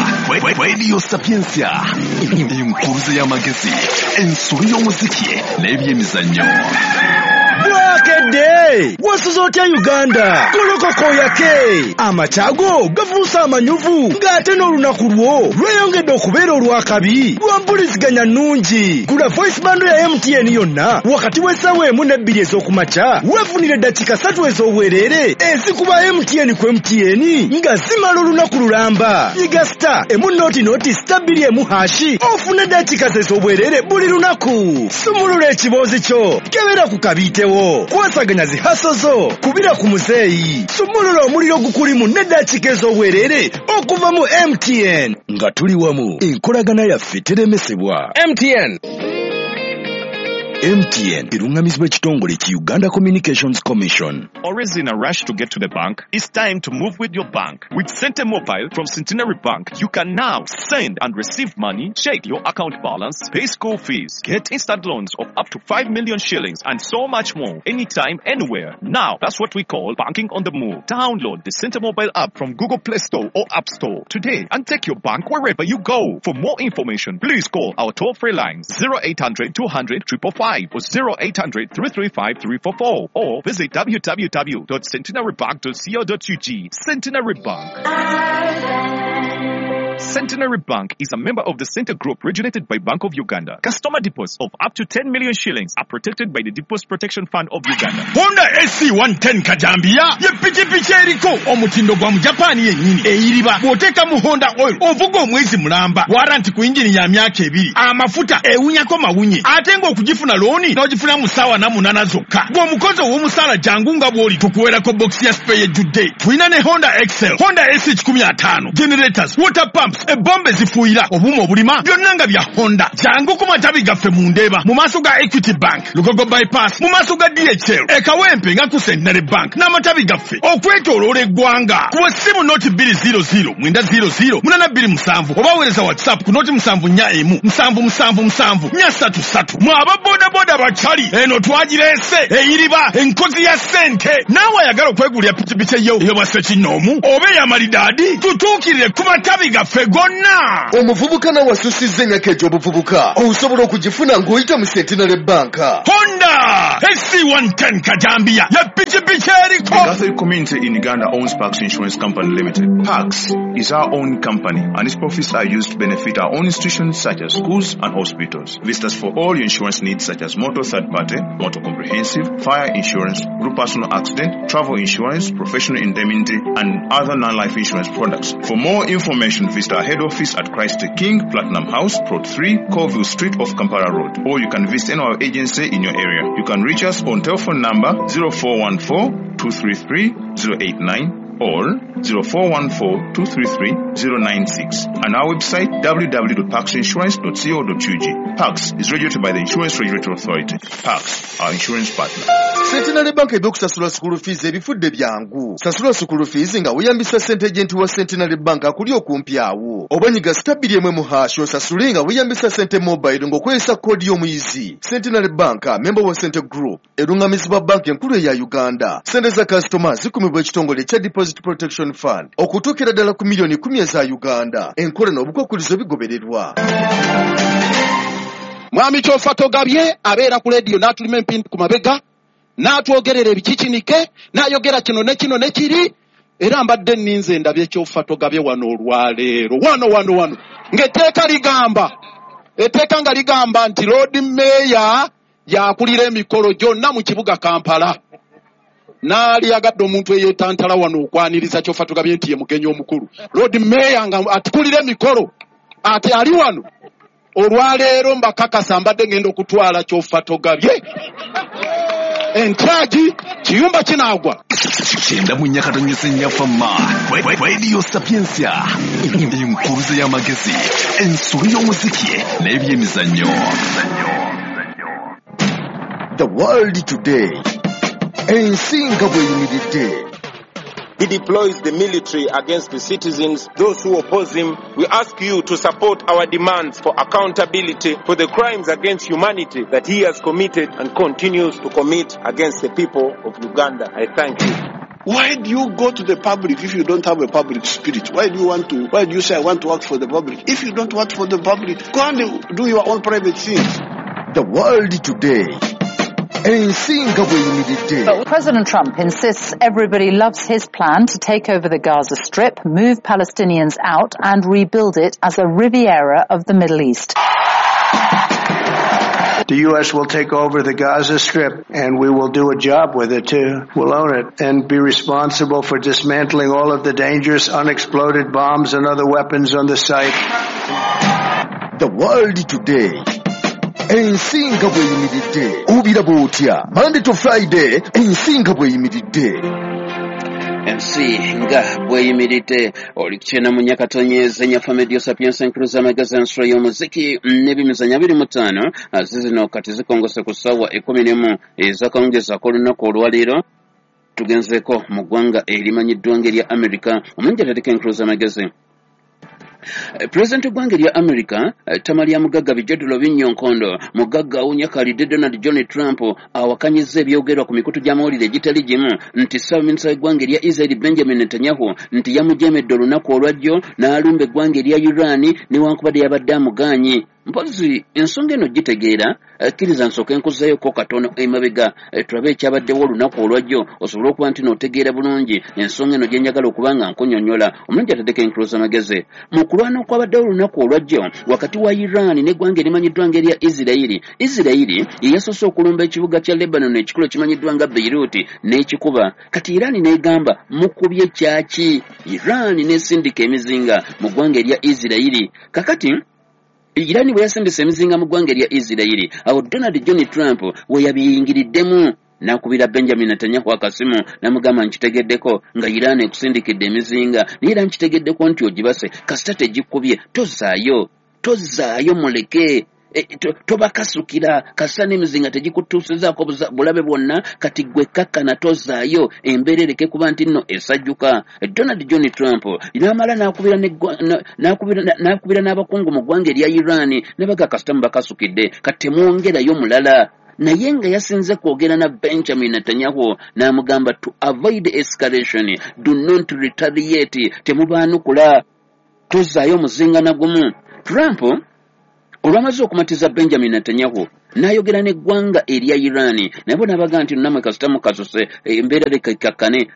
S3: Radio Sapientia, enkuruze y'amagezi, ensolo y'omuziki n'ebyemizannyo.
S11: Bwakedde wasuze otya Uganda? Golokoko yake amakyago gafuuse amanyuvu, ng'ate n'olunaku lwo lweyongedde okubeera olwakabi lwa mpuliziganya nnungi. Gula voice bando ya MTN yonna wakati w'essaawa 1 ne 2 ez'okumakya, weefunire eddakiika 3 ez'obwereere ezikuba MTN ku MTN nga zimala olunaku lulamba. Nyiga star emu noti noti star 2 emu hashi ofune eddakiika ez'obwereere buli lunaku. Sumulula ekiboozi kyo, kebera ku kabiitewo, kwasaganya zihaso zo, kubira ku muzeeyi, sumulula omuliro gukulimu n'eddakiika ez'obwereere okuva mu MTN. Nga tuli wamu, enkolagana yaffe teremesebwa.
S12: MTN.
S11: MTN erungamizibwa ekitongole ki Uganda Communications Commission.
S13: Always in a rush to get to the bank? It's time to move with your bank. With Sente Mobile from Centenary Bank, you can now send and receive money, check your account balance, pay school fees, get instant loans of up to 5 million shillings, and so much more, anytime, anywhere. Now, that's what we call banking on the move. Download the Sente Mobile app from Google Play Store or App Store today and take your bank wherever you go. For more information, please call our toll-free lines 0800 200 555 or 0800 335 344 or visit www.centenarybank.co.ug. Centenary Bank. Centenary Bank is a member of the Center Group regulated by Bank of Uganda. Customer deposits of up to 10 million shillings are protected by the Deposit Protection Fund of Uganda.
S14: Honda AC110 Kajambia ye pikipiki eriko omutindo gwa Mujapani yennyini eyiriba. Bw'oteeka mu Honda oil ovuga omwezi mulamba, waranti ku yingini ya myaka 2, amafuta ewunyako mawunye, ate ng'okugifuna looni n'ogifuna mu ssaawa 8 zokka. Gw'omukozi ow'omusaala jangu nga bw'oli tukuweerako bokisi ya spare ejjudde. Tulina ne Honda Excel, Honda AC 105, generators, water pumps, ebombe zifuuyira, obuuma obulima, byonna nga bya Honda. Jangu ku matabi gaffe mu Ndeeba, mu maaso ga Equity Bank, Lugogo Bypass, mu maaso ga DHL, e Kawempe nga ku Centenary Bank n'amatabi gaffe okwetooloola eggwanga. Kuba essimu noti 200 900 827 oba weereza WhatsApp ku noti 741 777 433. Mwe aba bodaboda bakyali, eno twagireese eyiriba enkozi ya ssente. Naawe ayagala okwegulira pikipiki eyo ey'obwa ssekinnoomu oba ey'amalidaadi, tutuukirire ku matabi gaffe gonna.
S2: Omuvubuka nawe asusizza emyaka egy'obuvubuka osobola okugifuna ng'oyita mu Centenary Bank.
S14: Honda AC110 Kajambia ye pikipiki eriko.
S15: The Catholic community in Uganda owns Pax Insurance Company Limited. Pax is our own company and its profits are used to benefit our own institutions such as schools and hospitals. Visit us for all your insurance needs such as motor third party, motor comprehensive, fire insurance, group personal accident, travel insurance, professional indemnity, and other non-life insurance products. For more information, visit our head office at Christ the King, Platinum House, Plot 3, Colville Street off Kampala Road, or you can visit any of our agency in your area. You can reach us on telephone number 0414 233 089 or 0414 233 096 and our website www.paxinsurance.co.ug. Pax is regulated by the Insurance Regulatory Authority. Pax, our insurance partner.
S2: Centenary Bank ebyokusasula school fees ebifudde byangu. Sasula school fees nga weeyambisa ssente agent wa Centenary Bank akuli okumpi awo, oba nyiga star 2 mu hash osasule nga weeyambisa ssente mobile ng'okozesa koodi y'omuyizi. Centenary Bank, member wa Center Group, erungamizibwa banki enkulu eya Uganda. Ssente za kasitoma zikumibwa ekitongole ekya Deposit Protection Fund okutuukira ddala ku miliyoni 10 eza Uganda. Enkola n'obukwakkulizo bigobererwa.
S16: Mwami Kyofa Togabye abeera ku leediyo n'atulima empindi ku mabega, n'atwogerera ebikikinike, n'ayogera kino ne kino ne kiri. Era mbadde nninze ndabye Kyofa Togabye wano olwaleero wano wano wano ng'etteeka ligamba Etteeka nga ligamba nti Lord Mayor yakulira emikolo gyonna mu kibuga Kampala. Naali yagadde omuntu eyeetantala wano okwaniriza Kyofa tugambye nti ye mugenyi omukulu. Lord Mayor nga atukulira emikolo ate ali wano olwaleero, mbakakasa mbadde ngenda okutwala Kyofa togabye entyagi kiyumba kinaagwa.
S3: 94.4 Fama Radio Sapientia, enkuluze y'amagezi, ensolo y'omuziki n'ebyemizannyo.
S2: The World Today, ensi nga bw'eyimiridde.
S8: He deploys the military against the citizens, those who oppose him. We ask you to support our demands for accountability for the crimes against humanity that he has committed and continues to commit against the people of Uganda. I thank you.
S9: Why do you go to the public if you don't have a public spirit? Why do you want to, why do you say I want to work for the public? If you don't work for the public, go and do your own private things.
S2: The World Today, ensi nga bw'eyimiridde.
S10: But President Trump insists everybody loves his plan to take over the Gaza Strip, move Palestinians out and rebuild it as a Riviera of the Middle East.
S7: The U.S. will take over the Gaza Strip and we will do a job with it too. We'll own it and be responsible for dismantling all of the dangerous unexploded bombs and other weapons on the site.
S2: The World Today, ensi nga bw'eyimiridde, obiraba otya? Monday to Friday, ensi nga bw'eyimiridde.
S4: Ensi nga bweyimiridde, oli kukyena mu nyakatonyeza nyafa Medio Sapiensa, enkuluza amagezi, ensolo y'omuziki n'ebimizanyo 25. Zizino kati zikongose ku ssaawa 11 ezakawungezi ak'olunaku olwaleero. Tugenzeeko mu ggwanga erimanyiddwa ng'erya Amerika. Omungi ateeka enkuluza amagezi. Pulezidenti w'eggwanga erya America, ttama lya mugagga Bijodulo Binnyonkondo, mugagga awunya kalidde Donald John Trump, awakanyizza ebyogerwa ku mikutu gy'amawulire egitali gimu nti ssaabaminisita w'eggwanga erya Israel Benjamin Netanyahu nti yamujeemedde olunaku olwajjo n'alumba eggwanga erya Iran newankubadde yabadde amugaanyi. Mpozi ensonga eno gitegeera, kkiriza nsooke nkuzzayoko katono emabega, tulabe ekyabaddewo olunaku olwajjo osobole okuba nti n'otegeera bulungi ensonga eno gye njagala okuba nga nkunyonnyola. Omulungi ataddeko enkuluza amagezi, mu kulwana okwabaddewo olunaku olwajjo wakati wa Iran n'eggwanga erimanyiddwa ng'erya Isirayiri, Isirayiri ye yasoose okulumba ekibuga kya Lebanon ekikulu ekimanyiddwa nga Beirut n'ekikuba. Kati Iran n'egamba, mukubye kyaki? Iran n'esindika emizinga mu ggwanga erya Isirayiri. Kakati Irani bwe yasindisa emizinga mu ggwanga erya Isirayiri, awo Donald John Trump we yabiyingiriddemu n'akubira Benjamin Netanyahu akasimu n'amugamba, nkitegeddeko nga Iran ekusindikidde emizinga, naye era nkitegeddeko nti ogibase. Kasita tegikubye, tozaayo, tozaayo, muleke. Tobakasukira kasita n'emizinga tegikutuusizaako bulabe bwonna. Kati gwe kakkana, tozaayo, embeera ereke kuba nti nno esajjuka. Donald John Trump n'amala n'akubira n'akubira n'abakungu mu ggwanga erya Iran ne baga, kasita mubakasukidde, kati temwongerayo mulala. Naye nga yasinze kwogera na Benjamin Netanyahu n'amugamba, to avoid escalation, do not retaliate, temubaanukula, tozaayo omuzinga na gumu. Trump olwamaze okumatiza Benjamin Netanyahu, n'ayogera n'eggwanga erya Iran, naye bo n'abaga nti nammwe kasita mukasuse, embeera leka ekakkane.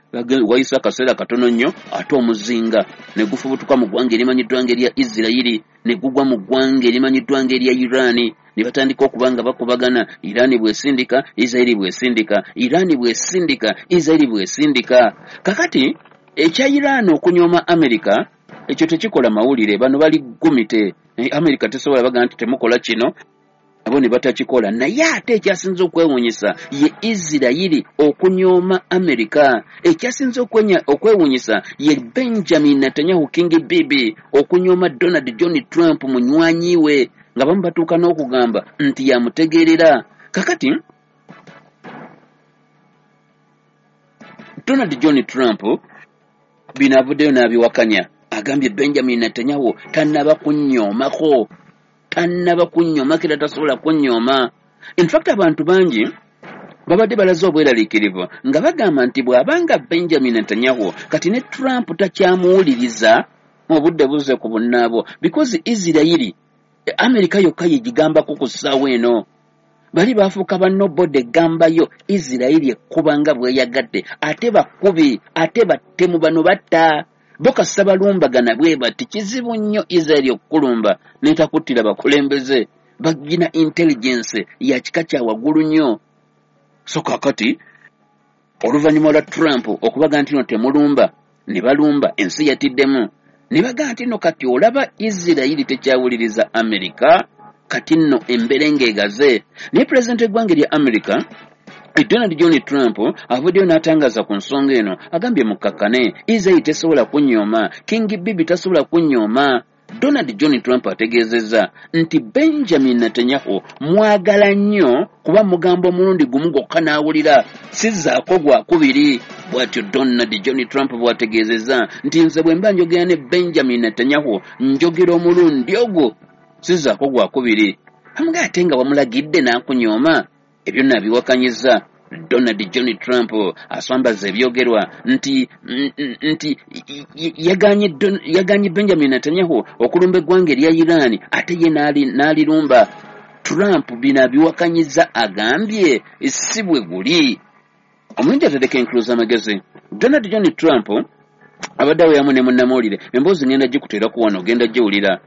S4: Wayise akaseera katono nnyo, ate omuzinga ne gufubutuka mu ggwanga erimanyiddwa ng'erya Isirayiri ne gugwa mu ggwanga erimanyiddwa ng'erya Iran, ne batandika okuba nga bakubagana. Iran bw'esindika, Isirayiri bw'esindika, Iran bw'esindika, Isirayiri bw'esindika. Kakati ekya Iran okunyooma Amerika ekyo tekikola mawulire. Bano bali gumite. Amerika tesobola baga nti temukola kino, abo ne batakikola. Naye ate ekyasinze okwewuunyisa ye Isirayiri okunyooma Amerika, ekyasinze okwewuunyisa ye Benjamin Netanyahu, King Bibi, okunyooma Donald John Trump munywanyi we, nga bamu batuuka n'okugamba nti yamutegeerera. Kakati Donald John Trump bino avuddeyo n'abiwakanya, agambye Benjamin Netanyahu tannaba kunnyoomako, tannaba kunnyoomako era tasobola kunnyooma. In fact, abantu bangi babadde balaze obweraliikirivu nga bagamba nti bw'abanga Benjamin Netanyahu kati ne Trump takyamuwuliriza, obudde buzze ku bunnaabwo, because Isirayiri Amerika yokka yegigambako ku ssaawa eno. Bali baafuuka bannobodde eggambayo Isirayiri ekkuba nga bweyagadde, ate bakubi, ate battemu, bano batta. Bo kasita balumbagana bwe bati, kizibu nnyo Isiraeri okukulumba n'etakuttira bakulembeze. Bagina intelligence ya kika kya waggulu nnyo. So kaakati oluvannyuma lwa Trump okubaga nti no temulumba, ne balumba, ensi yatiddemu ne bagaa nti no kati olaba Isirayiri tekyawuliriza Amerika, kati nno embeera ng'egaze. Naye pulezidenti w'eggwanga erya Amerika Donald John Trump avuddeyo n'atangaza ku nsonga eno, agambye mukkakkane, Isirayiri tesobola kunyooma, King Bibi tasobola kunyooma. Donald John Trump ategeezezza nti Benjamin Netanyahu mwagala nnyo kuba mugamba omulundi gumu gwokka n'awulira, sizzaako gwakubiri. Bw'atyo Donald John Trump bw'ategeezezza nti nze bwe mba njogera ne Benjamin Netanyahu njogera omulundi ogwo, sizzaako gwakubiri. Amuga ate nga wamulagidde n'akunyooma, ebyo naabiwakanyizza. Donald John Trump aswambaza ebyogerwa nti yaganye Benjamin Netanyahu okulumba eggwanga erya Iran, ate ye n'alirumba. Trump bino abiwakanyizza, agambye si bwe guli. Omulungi atereka enkulu z'amagezi. Donald John Trump abadde aweyamu ne munnamawulire, emboozi ngenda gikuteerako wano, ogenda giwulira.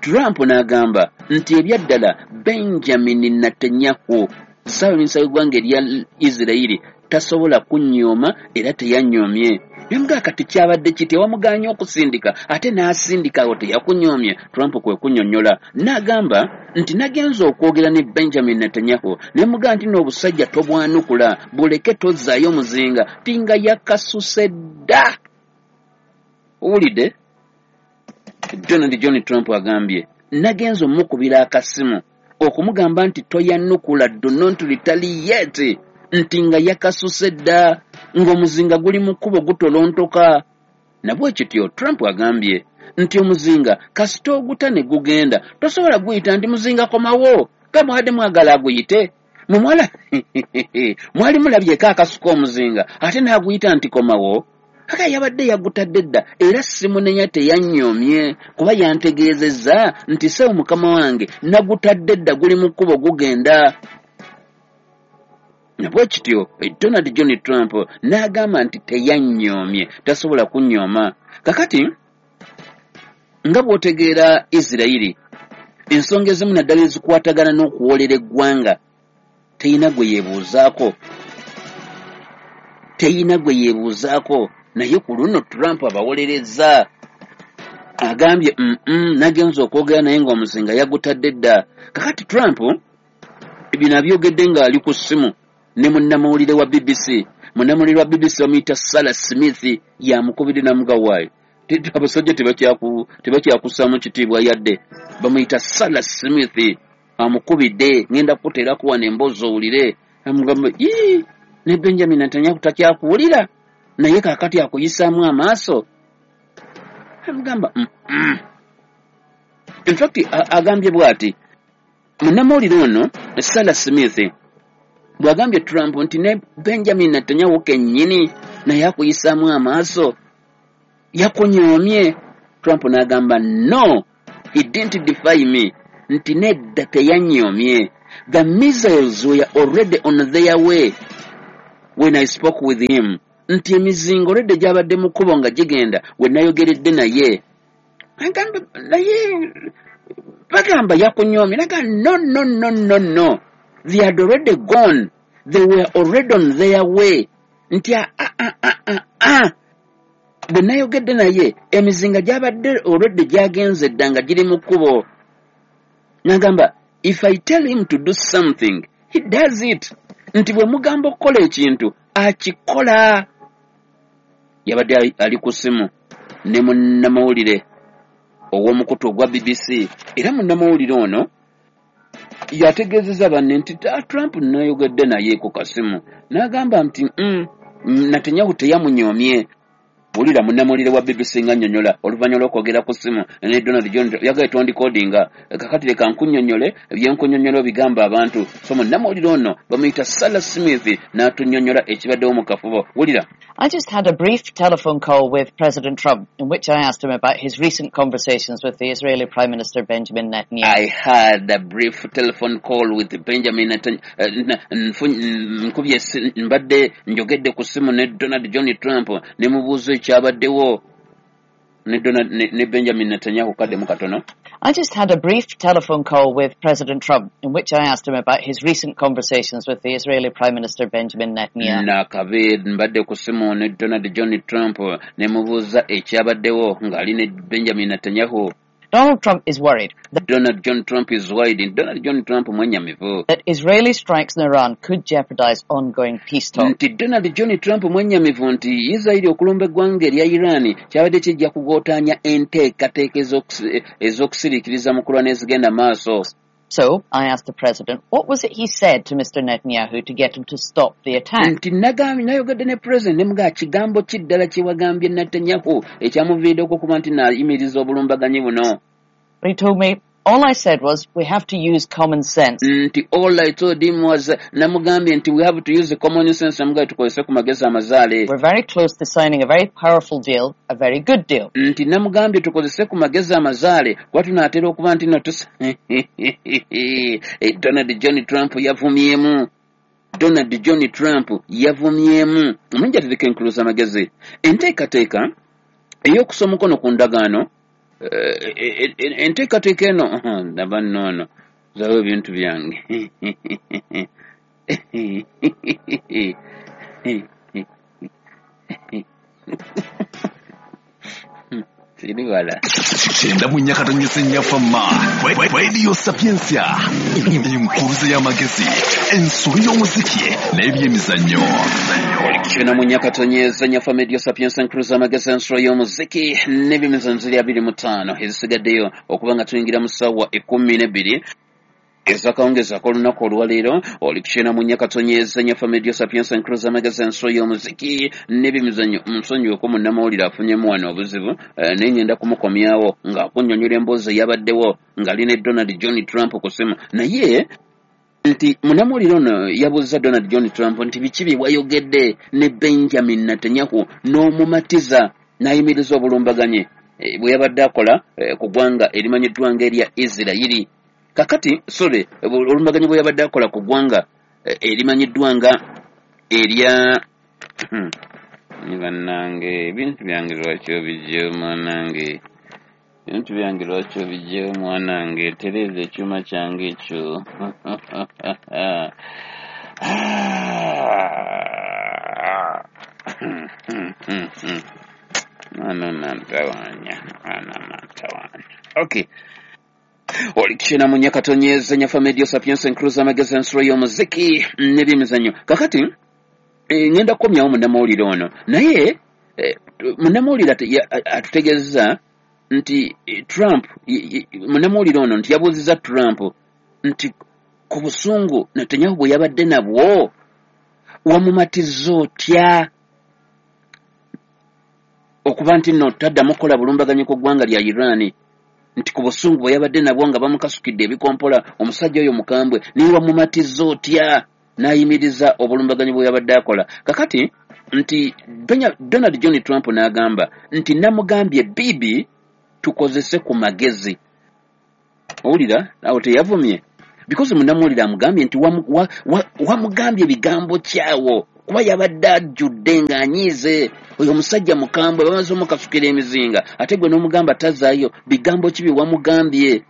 S4: Trump n'agamba nti ebyaddala Benjamin Netanyahu ssaabaminisita w'eggwanga erya Isirayiri tasobola kunyooma era teyanyoomye. Namugaa kati kyabadde kiti, wamugaanye okusindika ate n'asindika, awo teyakunyoomye. Trump kwe kunnyonnyola n'agamba nti nagenze okwogera ne Benjamin Netanyahu ne mugaa nti n'obusajja tobwanukula, buleke tozzaayo muzinga, tinga yakasuse dda. Owulidde? Donald John Trump agambye nagenze omukubira akasimu okumugamba nti toyanukula, do not retaliate, nti nga yakasuse dda, ng'omuzinga guli mu kkubo gutolontoka. Nabwe kityo Trump agambye nti omuzinga kasita oguta ne gugenda, tosobola guyita nti muzinga komawo, nga mwadde mwagala aguyite. Mumwala mwali mulabyeko akasuka omuzinga ate n'aguyita nti komawo. Aka yabadde yagutadde dda, era simunenya teyanyoomye kuba yantegeezezza nti sewo mukama wange nagutadde dda, guli mu kkubo gugenda. Nabwe kityo Donald John Trump n'agamba nti teyanyoomye, tasobola kunyooma. Kakati nga bw'otegeera Isirayiri, ensonga ezimu naddala ezikwatagana n'okuwoolera eggwanga teyina gwe yeebuuzaako, teyina gwe yeebuuzaako. Naye ku luno Trump abawolerezza, agambye nagenze okwogera naye ng'omuzinga yagutadde dda. Kakati Trump bino abyogedde ng'ali ku ssimu ne munnamawulire wa BBC. Munnamawulire wa BBC bamuyita Sarah Smith, yamukubidde n'amugawaayo abasajja tebakyakussaamu kitiibwa yadde. Bamuyita Sarah Smith, amukubidde, ngenda kukuteerako wano emboozi owulire. Amugamba ii ne Benjamin Netanyahu takyakuwulira, naye kaakati akuyisaamu amaaso. Amugamba In fact agambye bw'ati munnamawulire ono Sarah Smith bw'agambye Trump nti ne Benjamin Netanyahu kennyini naye akuyisaamu amaaso, yakunyoomye. Trump n'agamba no, he didn't defy me, nti nedda teyanyoomye. The missiles were already on their way when I spoke with him, nti emizinga olwedde gyabadde mu kkubo nga gigenda we nayogeredde naye. Agamba naye bagamba yakunyoomye, naga no no no no no, they had already gone, they were already on their way, nti bwe nayogedde naye emizinga gyabadde olwedde gyagenze dda nga giri mu kkubo. Nagamba if I tell him to do something he does it, nti bwe mugamba okukola ekintu akikola. Yabadde ali ku ssimu ne munnamawulire ow'omukutu ogwa BBC, era munnamawulire ono yategeezezza banne nti Trump nayogedde naye ku kasimu n'agamba nti Netanyahu teyamunyoomye. Wulira munnamawulire wa BBC nga nnyonnyola oluvannyuma lw'okwogera ku ssimu ne Donald John, yagaye tondikodinga, kakati leka nkunnyonnyole ebyenkunnyonnyola bigamba abantu. So munnamawulire ono bamuyita Sarah Smith n'atunnyonnyola ekibaddewo mu kafubo. Wulira.
S12: I just had a brief telephone call with President Trump in which I asked him about his recent conversations with the Israeli Prime Minister Benjamin Netanyahu.
S4: I had a brief telephone call with Benjamin Netanyahu. Mbadde njogedde ku ssimu ne Donald John Trump ne mubuuza ekyabaddewo. ne Donald ne Benjamin Netanyahu. Kaddemu katono.
S12: I just had a brief telephone call with President Trump in which I asked him about his recent conversations with the Israeli Prime Minister Benjamin Netanyahu.
S4: Nakabe mbadde ku ssimu ne Donald John Trump ne mubuuza ekyabaddewo ng'ali ne Benjamin Netanyahu.
S12: Donald Trump is worried that
S4: Donald John Trump is worried. Donald John Trump mwenyamivu
S12: that Israeli strikes in Iran could jeopardize ongoing peace talks.
S4: Nti Donald John Trump mwenyamivu nti Israeli okulumba eggwanga erya Iran kyabadde kijja kugootaanya enteekateeka ez'okusiriikiriza mu kulwana ezigenda maaso.
S12: So I asked the president, what was it he said to Mr. Netanyahu to get him to stop the attack?
S4: Nti nagambye, nayogedde ne president ne mugamba, kigambo ki ddala kye wagambye Netanyahu ekyamuviiriddeko okuba nti naayimiriza obulumbaganyi buno?
S12: But he told me, all I said was, we have to use common sense.
S4: Nti all I told him was, namugambye nti we have to use common sense, namugambye tukozese ku magezi amazaale.
S12: We're very close to signing a very powerful deal, a very good deal.
S4: Nti namugambye tukozese ku magezi amazaale kuba tunaatera okuba nti no Donald John Trump yavumyemu. Donald John Trump yavumyemu. Omungi atereka enkuluza amagezi. Enteekateeka ey'okussa omukono ku ndagaano, enteekateeka eno, ndaba nnoono zawo ebintu byange. Siri wala.
S3: 94.4 Fama Radio Sapientia, enkuruza y'amagezi, ensolo y'omuziki n'ebyemizannyo.
S4: 94.4 Fama Radio Sapientia, enkuruza y'amagezi, ensolo y'omuziki n'ebyemizannyo ziri 25 ezisigaddeyo okuba nga tuyingira mu ssaawa 12 ezakawungezaako olunaku olwaleero. Oli ku 94.4 Fama Radio Sapientia, enkuruza y'amagezi, ensolo y'omuziki n'ebyemizannyo. Munsonyiweko, munnamawulire afunyemu wano obuzibu, naye ngenda kumukomyawo ng'akunnyonnyola emboozi eyabaddewo ng'ali ne Donald John Trump ku ssimu. Naye nti munnamawulire ono yabuuza Donald John Trump nti biki bye wayogedde ne Benjamin Netanyahu n'omumatiza n'ayimiriza obulumbaganyi bwe yabadde akola ku ggwanga erimanyiddwa ng'erya Isirayiri. Kakati sorry, olumbaganyi bwe yabadde akola ku ggwanga erimanyiddwa nga erya bannange, ebintu byange lwaki obijjewo mwanange? Ebintu byange lwaki obijjewo mwanange? Tereeza ekyuma kyange ekyo. Mwana nantawanya, mwana nantawanya. Okay. Oli 94.4 Fama Radio Sapientia, enkuruza amagezi, ensolo y'omuziki n'ebyemizannyo. Kakati ngenda kukomyawo munnamawulire ono, naye munnamawulire atutegeeza nti Trump, munnamawulire ono nti yabuuzizza Trump nti ku busungu Netanyahu bwe yabadde nabwo wamumatiza otya okuba nti nno taddamu kukola bulumbaganyi ku ggwanga lya Iran? Nti ku busungu bwe yabadde nabwo nga bamukasukidde ebikompola, omusajja oyo mukambwe, naye wamumatiza otya n'ayimiriza obulumbaganyi bwe yabadde akola? Kakati nti Donald John Trump n'agamba nti namugambye, Bibi, tukozese ku magezi. Owulira awo teyavumye, because munnamawulire amugambye nti wamugambye bigambo kyawo kuba yabadde ajjudde ng'anyiize, oyo omusajja mukambwe, bamaze omukasukira emizinga, ate gwe n'omugamba tazaayo, bigambo ki bye wamugambye?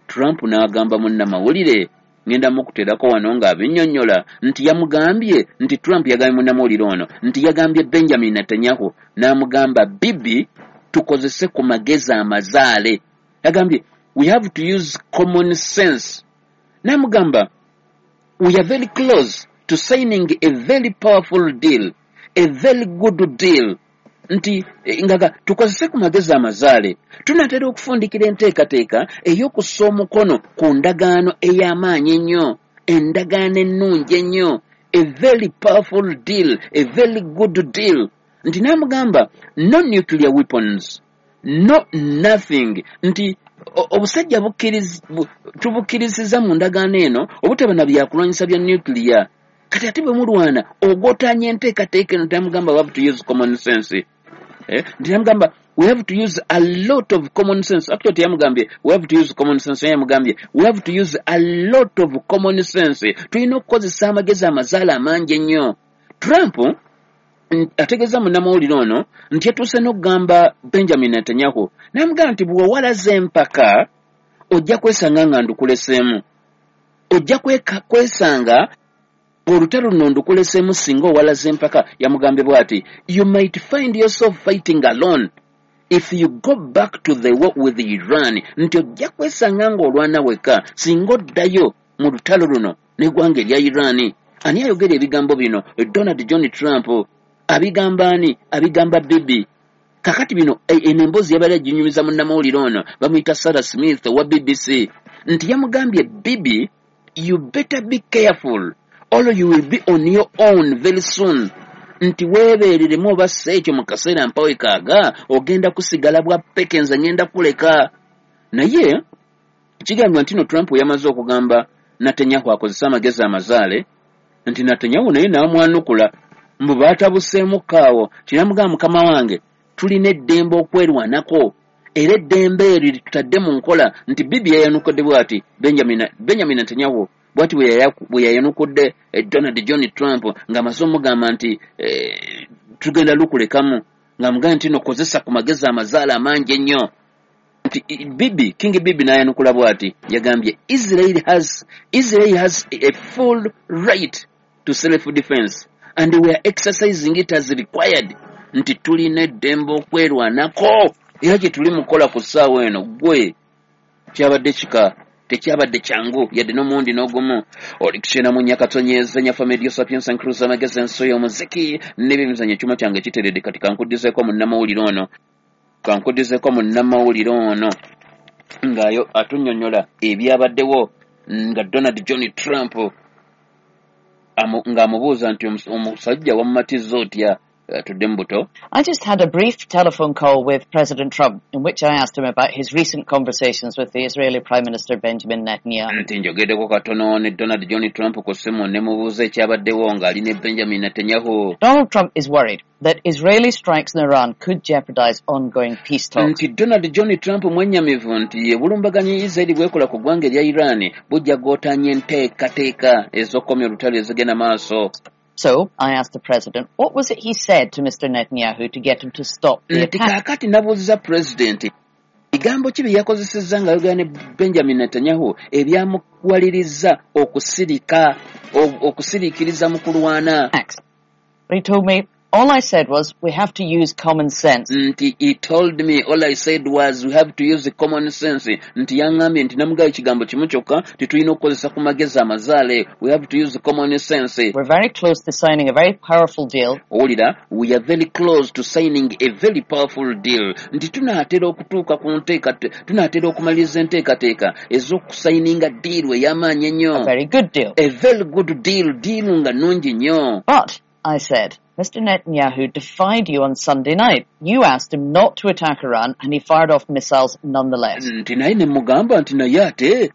S4: Trump n'agamba munnamawulire, ngenda mukuterako wano ng'abinnyonnyola, nti yamugambye nti Trump yagambye munnamawulire ono nti yagambye Benjamin Netanyahu n'amugamba, Bibi, tukozese ku magezi amazaale. Yagambye we have to use common sense. N'amugamba we are very close to signing a very powerful deal, a very good deal. Nti ngaga tukozese ku magezi amazaale, tunaatera okufundikira enteekateeka ey'okussa omukono ku ndagaano ey'amaanyi ennyo, endagaano ennungi ennyo, a very powerful deal, a very good deal. Nti n'amugamba no nuclear weapons, no nothing. Nti obusajja tubukkirizizza mu ndagaano eno obutaba na byakulwanyisa bya nuclear. Kati ate bwe mulwana ogotaanya enteekateeka eno. Tamugamba we have to use common sense. Nti namugamba we have to use a lot of common sense. Actually teyamugambye we have to use common sense, yamugambye we have to use a lot of common sense, tulina okukozesa amagezi amazaala amangi ennyo. Trump Ategeeza munnamawulire ono nti yatuuse n'okugamba Benjamin Netanyahu, n'amugamba nti bw'owalaza empaka ojja kwesanga nga ndukuleseemu, ojja kwesanga olutalo luno ndukuleseemu singa owalaza empaka. Yamugambye bw'ati, "You might find yourself fighting alone if you go back to the war with Iran," nti ojja kwesanga ng'olwana wekka singa oddayo mu lutalo luno n'eggwanga erya Iran. Ani ayogera ebigambo bino? Donald John Trump. Abigamba ani? Abigamba Bibi. Kakati bino eno emboozi yabadde aginyumiza munnamawulire ono bamuyita Sarah Smith owa BBC, nti yamugambye, "Bibi, you better be careful or you will be on your own very soon," nti weebeereremu oba si ekyo mu kaseera mpawe kaaga ogenda kusigala bwa peke, nze ngenda kuleka. Naye kigambibwa nti no Trump yamaze okugamba Netanyahu akozese amagezi amazaale, nti Netanyahu naye n'amwanukula mbu baatabuseemukko awo, kinamugamba, "Mukama wange, tulina eddembe okwerwanako era eddembe eryo litutadde mu nkola." Nti Bibi yayanukudde bw'ati Benjamin Netanyahu bw'ati bwe yayanukudde Donald John Trump ng'amaze omugamba nti tugenda lukulekamu, ng'amugamba nti nokozesa ku magezi amazaale amangi ennyo. Nti Bibi, King Bibi n'ayanukula bw'ati, yagambye, Israel has a full right to self defense and we are exercising it as required," nti tulina eddembe okwerwanako era kye tuli mukola ku ssaawa eno. Gwe kyabadde kika tekyabadde kyangu yadde n'omuwundi n'ogumu. Oli kukyena mu nyakatonyeza nyafa Medio Sapiens and Cruise, amagezi, enso y'omuziki n'ebyemizannyo. Ekyuma kyange kiteredde. Kati kankuddizeeko munnamawulire ono ng'ayo atunnyonnyola ebyabaddewo nga Donald John Trump ng'amubuuza nti omusajja wamumatiza otya? Tudde mu buto.
S12: I just had a brief telephone call with President Trump in which I asked him about his recent conversations with the Israeli Prime Minister Benjamin Netanyahu.
S4: Nti njogeddeko katono ne Donald John Trump ku ssimu ne mubuuza ekyabaddewo ng'ali ne Benjamin Netanyahu.
S12: Donald Trump is worried that Israeli strikes in Iran could jeopardize ongoing peace talks.
S4: Nti Donald John Trump mwennyamivu nti obulumbaganyi Israeli bwekola ku ggwanga erya Iran bujja gootaanya enteekateeka ez'okukomya olutalo ezigenda maaso.
S12: So I asked the president, what was it he said to Mr. Netanyahu to get him to stop the
S4: Nti
S12: attack?
S4: kaakati nabuuziza pulezidenti bigambo ki bye yakozesezza ng'ayogera ne Benjamin Netanyahu ebyamuwaliriza okusirika okusiriikiriza mu kulwana.
S12: But he told me, "All I said was we have to use common sense."
S4: Nti he told me, "All I said was we have to use common sense," nti yaŋŋambye nti namugayo ekigambo kimu kyokka, tetulina okukozesa ku magezi amazaale, we have to use common sense.
S12: We're very close to signing a very powerful deal.
S4: Owulira, we are very close to signing a very powerful deal, nti tunaatera okutuuka ku nteeka, tunaatera okumaliriza enteekateeka ez'okusayininga deal ey'amaanyi ennyo.
S12: A very good deal.
S4: A very good deal, deal nga nnungi nnyo.
S12: But, I said, Mr. Netanyahu defied you on Sunday night. You asked him not to attack Iran and he fired off missiles nonetheless.
S4: Nti naye ne mugamba nti naye ate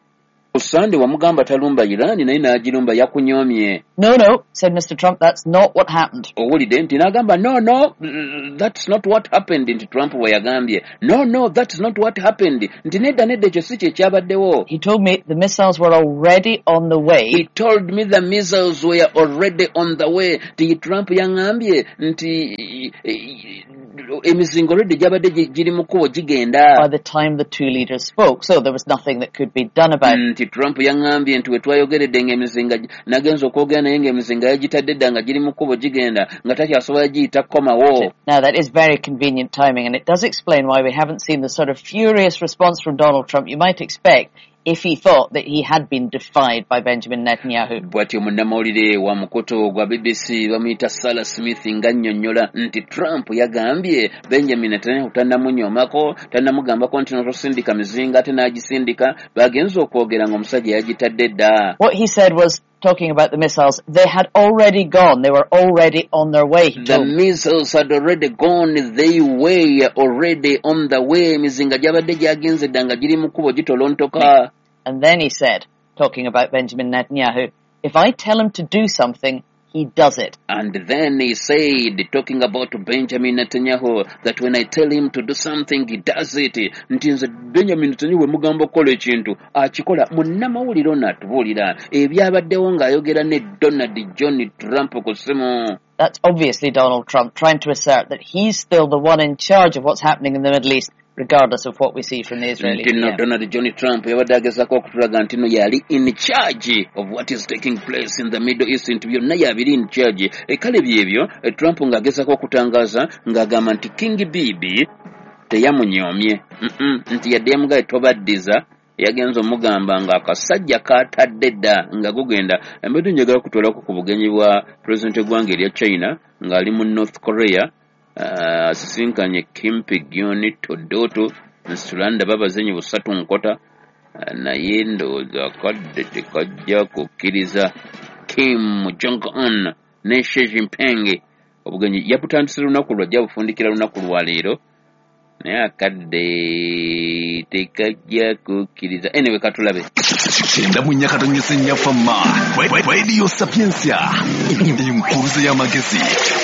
S4: ku Sande wamugamba talumba Irani naye n'agirumba, yakunyoomye.
S12: No, said Mr. Trump, that's not what happened.
S4: Owulidde, nti n'agamba, No, that's not what happened," nti Trump bwe yagambye, No, that's not what happened," nti nedda nedda ekyo si kye kyabaddewo.
S12: He told me the missiles were already on the way.
S4: He told me the missiles were already on the way, nti Trump yaŋŋambye nti emizinga already gyabadde giri mu kkubo gigenda
S12: by the time the two leaders spoke, so there was nothing that could be done about it.
S4: Nti Trump yaŋŋambye nti we twayogeredde ng'emizinga nagenza okwogera naye ng'emizinga yagitadde dda nga giri mu kkubo gigenda nga takyasobola giyita kukomawo.
S12: Now that is very convenient timing, and it does explain why we haven't seen the sort of furious response from Donald Trump you might expect if he thought that he had been defied by Benjamin Netanyahu.
S4: Bw'atyo munnamawulire wa mukutu gwa BBC bamuyita Sarah Smith ng'annyonnyola nti Trump yagambye Benjamin Netanyahu tannamunyoomako, tannamugambako nti notosindika mizinga ate n'agisindika, bagenza okwogera ng'omusajja yagitadde dda.
S12: What he said was, talking about the missiles, they had already gone. They were already on their way, he
S4: The
S12: told me.
S4: missiles had already gone, they were already on the way, emizinga gyabadde gyagenze dda nga giri mu kkubo gitolontoka.
S12: And then he said, talking about Benjamin Netanyahu, "If I tell him to do something, he does it."
S4: And then he said, talking about Benjamin Netanyahu, that when I tell him to do something, he does it. Nti nze Benjamin Netanyahu bwe mugamba okukola ekintu, akikola. Munnamawulire ono atubuulira ebyabaddewo ng'ayogera ne Donald John Trump ku ssimu.
S12: That's obviously Donald Trump trying to assert that he's still the one in charge of what's happening in the Middle East, regardless of what we see from the Israeli
S4: Nti nno
S12: PM.
S4: Donald John Trump yabadde agezaako okutulaga nti no yali in charge of what is taking place in the Middle East, nti byonna yabiri in charge. E, kale byebyo e, Trump ng'agezaako okutangaza ng'agamba nti King Bibi teyamunyoomye. Nti yadde yamugaye tobaddiza, yagenza omugamba ng'akasajja katadde dda nga gugenda. Mbadde njagala kutwalako ku bugenyi bwa pulezidenti w'eggwanga erya China ng'ali mu North Korea, asisinkanye Kim Pigyoni Todoto nsula ndaba abazenyi busatu nkota, naye ndowooza akadde tekajja kukkiriza Kim Jong Un ne Xi Jinping. Obugenyi yabutandise lunaku lwajja, bufundikira lunaku lwa leero, naye akadde tekajja kukkiriza. Anyway, katulabe.
S3: 94.4 Fama Radio Sapientia, enkuruze y'amagezi,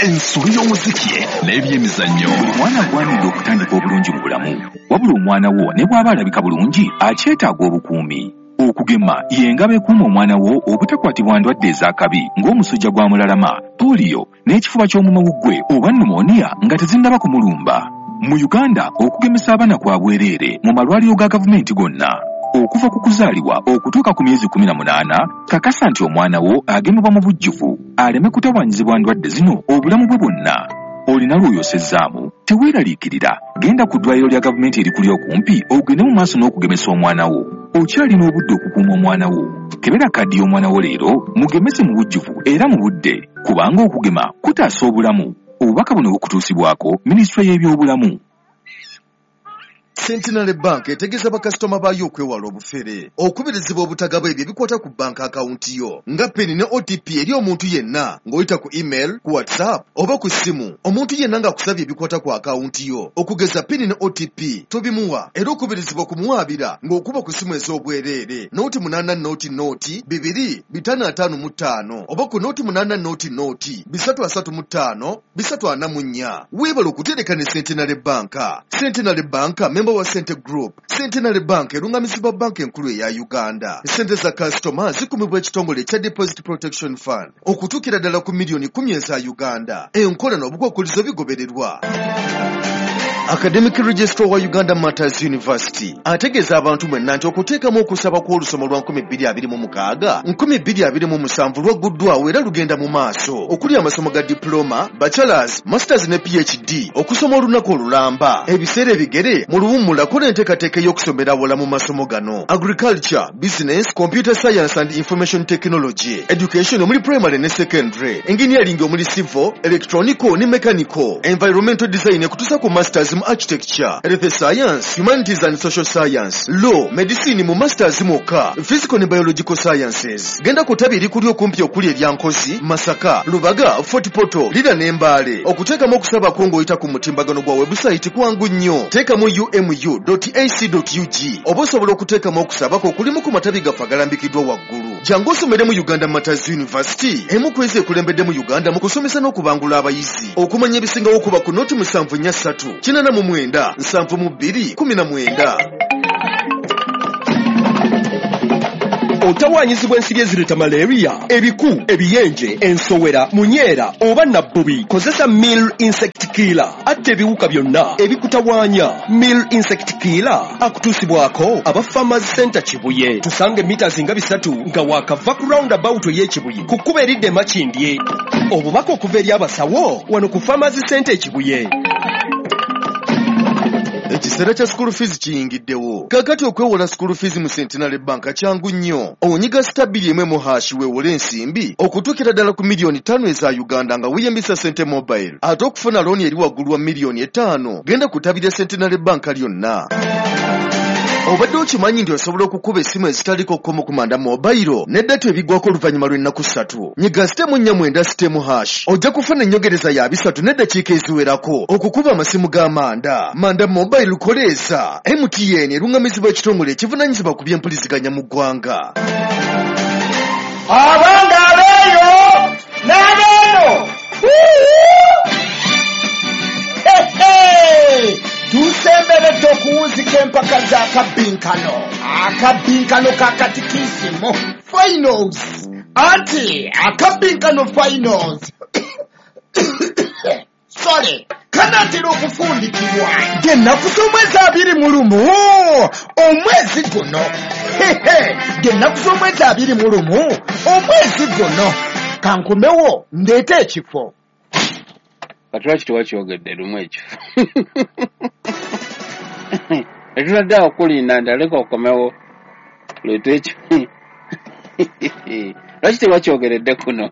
S3: ensolo y'omuziki n'ebyemizannyo.
S17: Buli mwana agwanidde okutandika obulungi mu bulamu, wabula omwana wo ne bw'aba alabika bulungi akyetaaga obukuumi. Okugema y'engabo ekuuma omwana wo obutakwatibwa ndwadde ez'akabi ng'omusujja gwa mulalama, pooliyo n'ekifuba ky'omumawuggwe oba pneumonia nga tezinnaba kumulumba. Mu Uganda okugemesa abaana kwa bwereere mu malwaliro ga gavumenti gonna. Okuva ku kuzaalibwa okutuuka ku myezi 18, kakasa nti omwana wo agemebwa mu bujjuvu aleme kutawaanyizibwa ndwadde zino obulamu bwe bwonna. Olina lw'oyosezzaamu, teweeraliikirira, genda ku ddwaliro lya gavumenti erikuli okumpi ogende mu maaso n'okugemesa omwana wo. Okyalina obudde okukuuma omwana wo. Kebera kaddi y'omwana wo leero, mugemese mu bujjuvu era mu budde, kubanga okugema kutaasa obulamu. Obubaka buno bukutuusibwako Minisitule y'Ebyobulamu.
S2: Centenary Bank etegeeza bakasitoma baayo okwewala obufere, okubirizibwa obutagaba ebyo ebikwata ku banka akawunti yo nga PIN ne OTP eri omuntu yenna ng'oyita ku email, ku WhatsApp oba ku ssimu. Omuntu yenna ng'akusabye ebikwata ku akawunti yo okugeza PIN ne OTP tobimuwa, era okubirizibwa okumuwaabira ng'okuba ku ssimu ez'obwereere 080 0 2 555 oba ku 080 0 335 344. Weebale okutereka ne Centenary Bank. Centenary Bank member wa Sente Group. Centenary Bank erungamizibwa banka enkulu eya Uganda. Sente za kasitoma zikumibwa ekitongole ekya Deposit Protection Fund okutuukira ddala ku miliyoni 10 eza Uganda. Enkola n'obukwakkulizo bigobererwa. Academic Registrar wa Uganda Martyrs University ategeeza abantu mwenna nti okuteekamu okusaba kw'olusoma lwa 2026 2027 lwagguddwawo era lugenda mu maaso, okuli amasomo ga diploma, bachelors, masters ne PhD, okusoma olunaku olulamba, ebiseera ebigere mu luwummula. Kola enteekateeka ey'okusomera awala mu masomo gano: agriculture, business, computer science and information technology, education omuli primary ne secondary, engineering omuli civil, electronical ne mechanical, environmental design ekutuusa ku masters mu architecture, health science, humanities and social science, law, medicine mu masters mwokka, physical ne biological sciences. Genda ku ttabi erikuli okumpi okuli erya Nkozi, Masaka, Lubaga, Fort Portal, Lira ne Mbale. Okuteekamu okusaba kwo ng'oyita ku mutimbagano gwa webusayiti kwangu nnyo. Teekamu umu.ac.ug oba osobola okuteekamu okusaba kwo okulimu ku matabi gaffe agalambikiddwa waggulu. Jangu osomere mu Uganda Martyrs University, emu ku ezo ekulembedde mu Uganda mu kusomesa n'okubangula abayizi. Okumanya ebisingawo kuba ku 074 89 72 19.
S18: Otawaanyizibwa ensiri ezireeta malaria, ebiku, ebiyenje, ensowera, munyeera oba nabbubi. Kozesa Mill Insect Killer, atta ebiwuka byonna ebikutawaanya. Mill Insect Killer akutuusibwako aba Farmers Center Kibuye. Tusange mita nga 3 nga waakava ku roundabout ey'Ekibuye ku kkubo eridda e Makindye. Obubaka okuva eri abasawo wano ku Farmers Center Ekibuye.
S2: Ekiseera kya school fees kiyingiddewo. Kaakati okwewola school fees mu Centenary Bank kyangu nnyo. Onyiga star 2 mu hash weewole ensimbi okutuukira ddala ku miliyoni 5 eza Uganda nga weeyambisa Sente Mobile. Ate okufuna looni eri waggulu wa miliyoni 5, genda ku ttabi lya Centenary Bank lyonna. Obadde okimanyi nti osobola okukuba essimu ezitaliko kkomo ku Manda Mobile ne data ebiggwako oluvannyuma lw'ennaku 3? Nyiga star 49 star hash, ojja kufuna ennyongereza ya 30 n'eddakiika eziwerako okukuba amasimu ga Manda. Manda Mobile koleeza. MTN erungamizibwa ekitongole ekivunaanyizibwa ku by'empuliziganya mu ggwanga.
S19: Abange abeeyo n'abeeno, tusemberedde okuwunzika empaka z'akabbinkano, akabbinkano ka katikisimu finals, anti akabbinkano finals. Sole kanaatera okufundikirwa ng'ennaku z'omwezi 21 omwezi guno. Ng'ennaku z'omwezi 21 omwezi guno. Kankomewo ndeete ekifo.
S4: Kati lwaki tewakyogedde lumu ekifo? Etutadde awo kulinda nti aleka okomewo leete ekifo. Lwaki tewakyogeredde kuno?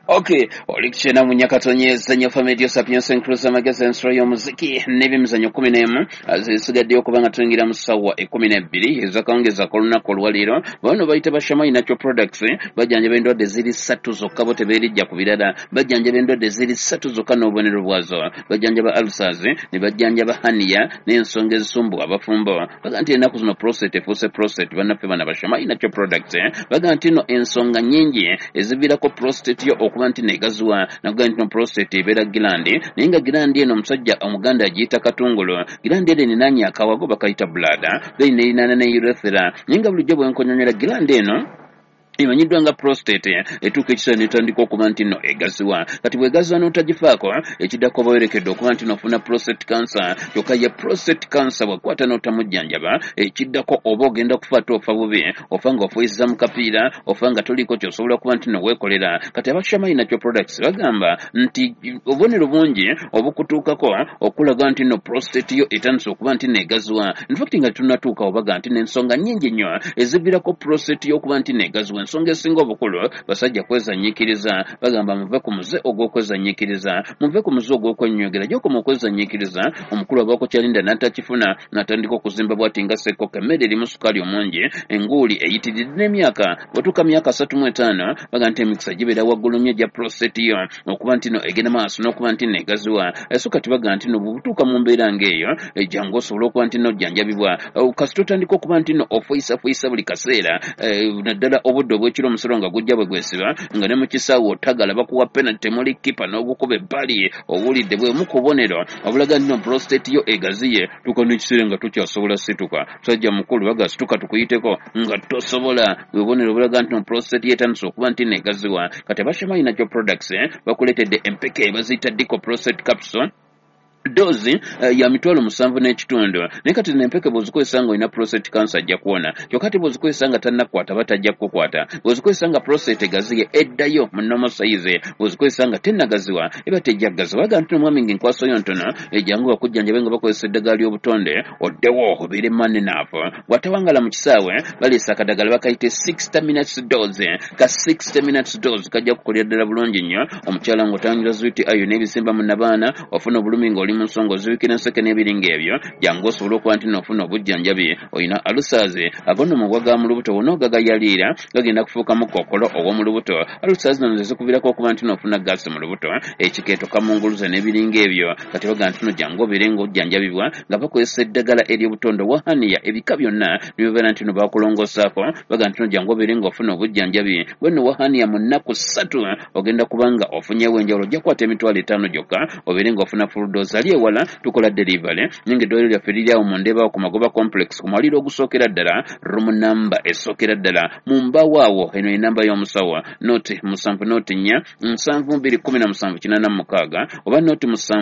S4: Okay, oli kukyena mu Nyakatonyeza nnyo Family Sapiens Inclusive Magazine ensolo y'omuziki n'ebyemizannyo 11 zisigaddeyo okuba nga tuyingira mu ssaawa 12 ez'akawungeezi ak'olunaku olwaleero. Bano bayita ba Shamai Natural Products, bajjanjaba endwadde ziri 3 zokka, bo tebeerijja ku birala. Bajjanjaba endwadde ziri 3 zokka n'obubonero bwazo. Bajjanjaba ulcers, ne bajjanjaba hernia n'ensonga ezisumbuwa abafumbo. Baga nti ennaku zino prostate efuuse prostate, bannaffe bano ba Shamai Natural Products baga nti no ensonga nnyingi eziviirako prostate yo okuba nti negaziwa. Nakugaa nti no prostate ebeera gland, naye nga gland eno omusajja omuganda agiyita katungulu. Gland eno erinaanye akawago bakayita bladder, then nerinaana ne urethra. Naye nga bulijjo bwe nkonyonyola, gland eno emanyiddwa nga prostate etuuka ekiseera n'etandika okuba nti nno egaziwa. Kati bw'egaziwa n'otagifaako, ekiddako oba weerekedde okuba nti n'ofuna prostate cancer. Kyokka ye prostate cancer bw'ekwata n'otamujjanjaba, ekiddako oba ogenda kufa ate ofa bubi, ofa ng'ofuuyisiza mu kapiira, ofa nga toliiko ky'osobola kuba nti nno weekolera. Kati aba Shamai Natural Products bagamba nti obubonero bungi obukutuukako okulaga nti nno prostate yo etandise okuba nti nno egaziwa. In fact nga tetunnatuukawo, baga nti n'ensonga nnyingi nnyo eziviirako prostate yo okuba nti nno egaziwa. Ensonga esinga obukulu, basajja kwezanyiikiriza. Bagamba muve ku muze ogw'okwezanyiikiriza, muve ku muze ogw'okwenywegera. Gy'okoma okwezanyiikiriza, omukulu abaako kyalinda n'atakifuna, n'atandika okuzimba bw'ati nga ssekkokko. Emmere erimu sukaali omungi, enguuli eyitiridde n'emyaka. Bw'otuuka myaka 35, baga nti emikisa gibeera waggulu nnyo egya prostate yo okuba nti no egenda maaso n'okuba nti nno egaziwa. So kati baga nti no bw'otuuka mu mbeera ng'eyo, jangu osobole okuba nti nno ojjanjabibwa. Kasita otandika okuba nti nno ofuyisafuyisa buli kaseera, naddala obudde obw'ekiro omusolo nga gujja bwe gwesiba, nga ne mu kisaawe otagala bakuwa penalty temuli kipa n'ogukuba ebbali, owulidde bwe mu kubonero obulaga nti no prostate yo egaziye. Tuuka n'ekiseera nga tokyasobola situka, musajja mukulu baga situka tukuyiteko nga tosobola. Bwe bubonero obulaga nti no prostate yo etandise okuba nti nno egaziwa. Kati aba Shamai Natural Products bakuleetedde empeke baziyita Dico Prostate Capsule, doozi ya 75,000. Naye kati zino empeke bw'ozikozesa ng'olina prostate cancer ajja kuwona. Kyokka ate bw'ozikozesa nga tannakukwata aba tajja kukukwata. Bw'ozikozesa nga prostate egaziye eddayo mu normal size. Bw'ozikozesa nga tennagaziwa eba tejja kugaziwa. Baga nti omwami ng'enkwaso yo ntono, ejjangu bakujjanjabe nga bakozesa eddagala ly'obutonde, oddewo obeere man enough. Bw'atawangala mu kisaawe, baleese akadagala bakayite 60 minutes dose. Ka 60 minutes dose kajja kukolera ddala bulungi nnyo omukyala ng'otangira zuiti ayo n'ebisimba mu nnabaana, ofuna obulumi ng'oli mu nsonga, ozibikira enseke n'ebiringa ebyo. Jangu osobole okuba nti n'ofuna obujjanjabi. Olina ulcers, ago nno mabwa ga mu lubuto, wonna ogagayaliira gagenda kufuukamu kookolo ow'omu lubuto. Ulcers zino ze zikuviirako okuba nti n'ofuna gaasi mu lubuto, ekikeeto, kamunguluze n'ebiringa ebyo. Kati baga nti no jangu obeere ng'ojjanjabibwa nga bakozesa eddagala ery'obutonde owa hernia, ebika byonna ne bibeera nti no bakulongoosaako. Baga nti no jangu obeere ng'ofuna obujjanjabi bwe nno wa hernia mu nnaku 3 ogenda kuba nga ofunyeewo enjawulo. Ojja kukwata 50,000 gyokka obeere ng'ofuna full dose. Ali ewala tukola delivery, naye ng'eddwaliro lyaffe liri awo mu Ndeeba ku Magoba Complex ku mwaliro ogusookera ddala, room number esookera ddala mu mbaawo awo. Eno ye namba y'omusawo, 070 4 72 17 86 oba 07.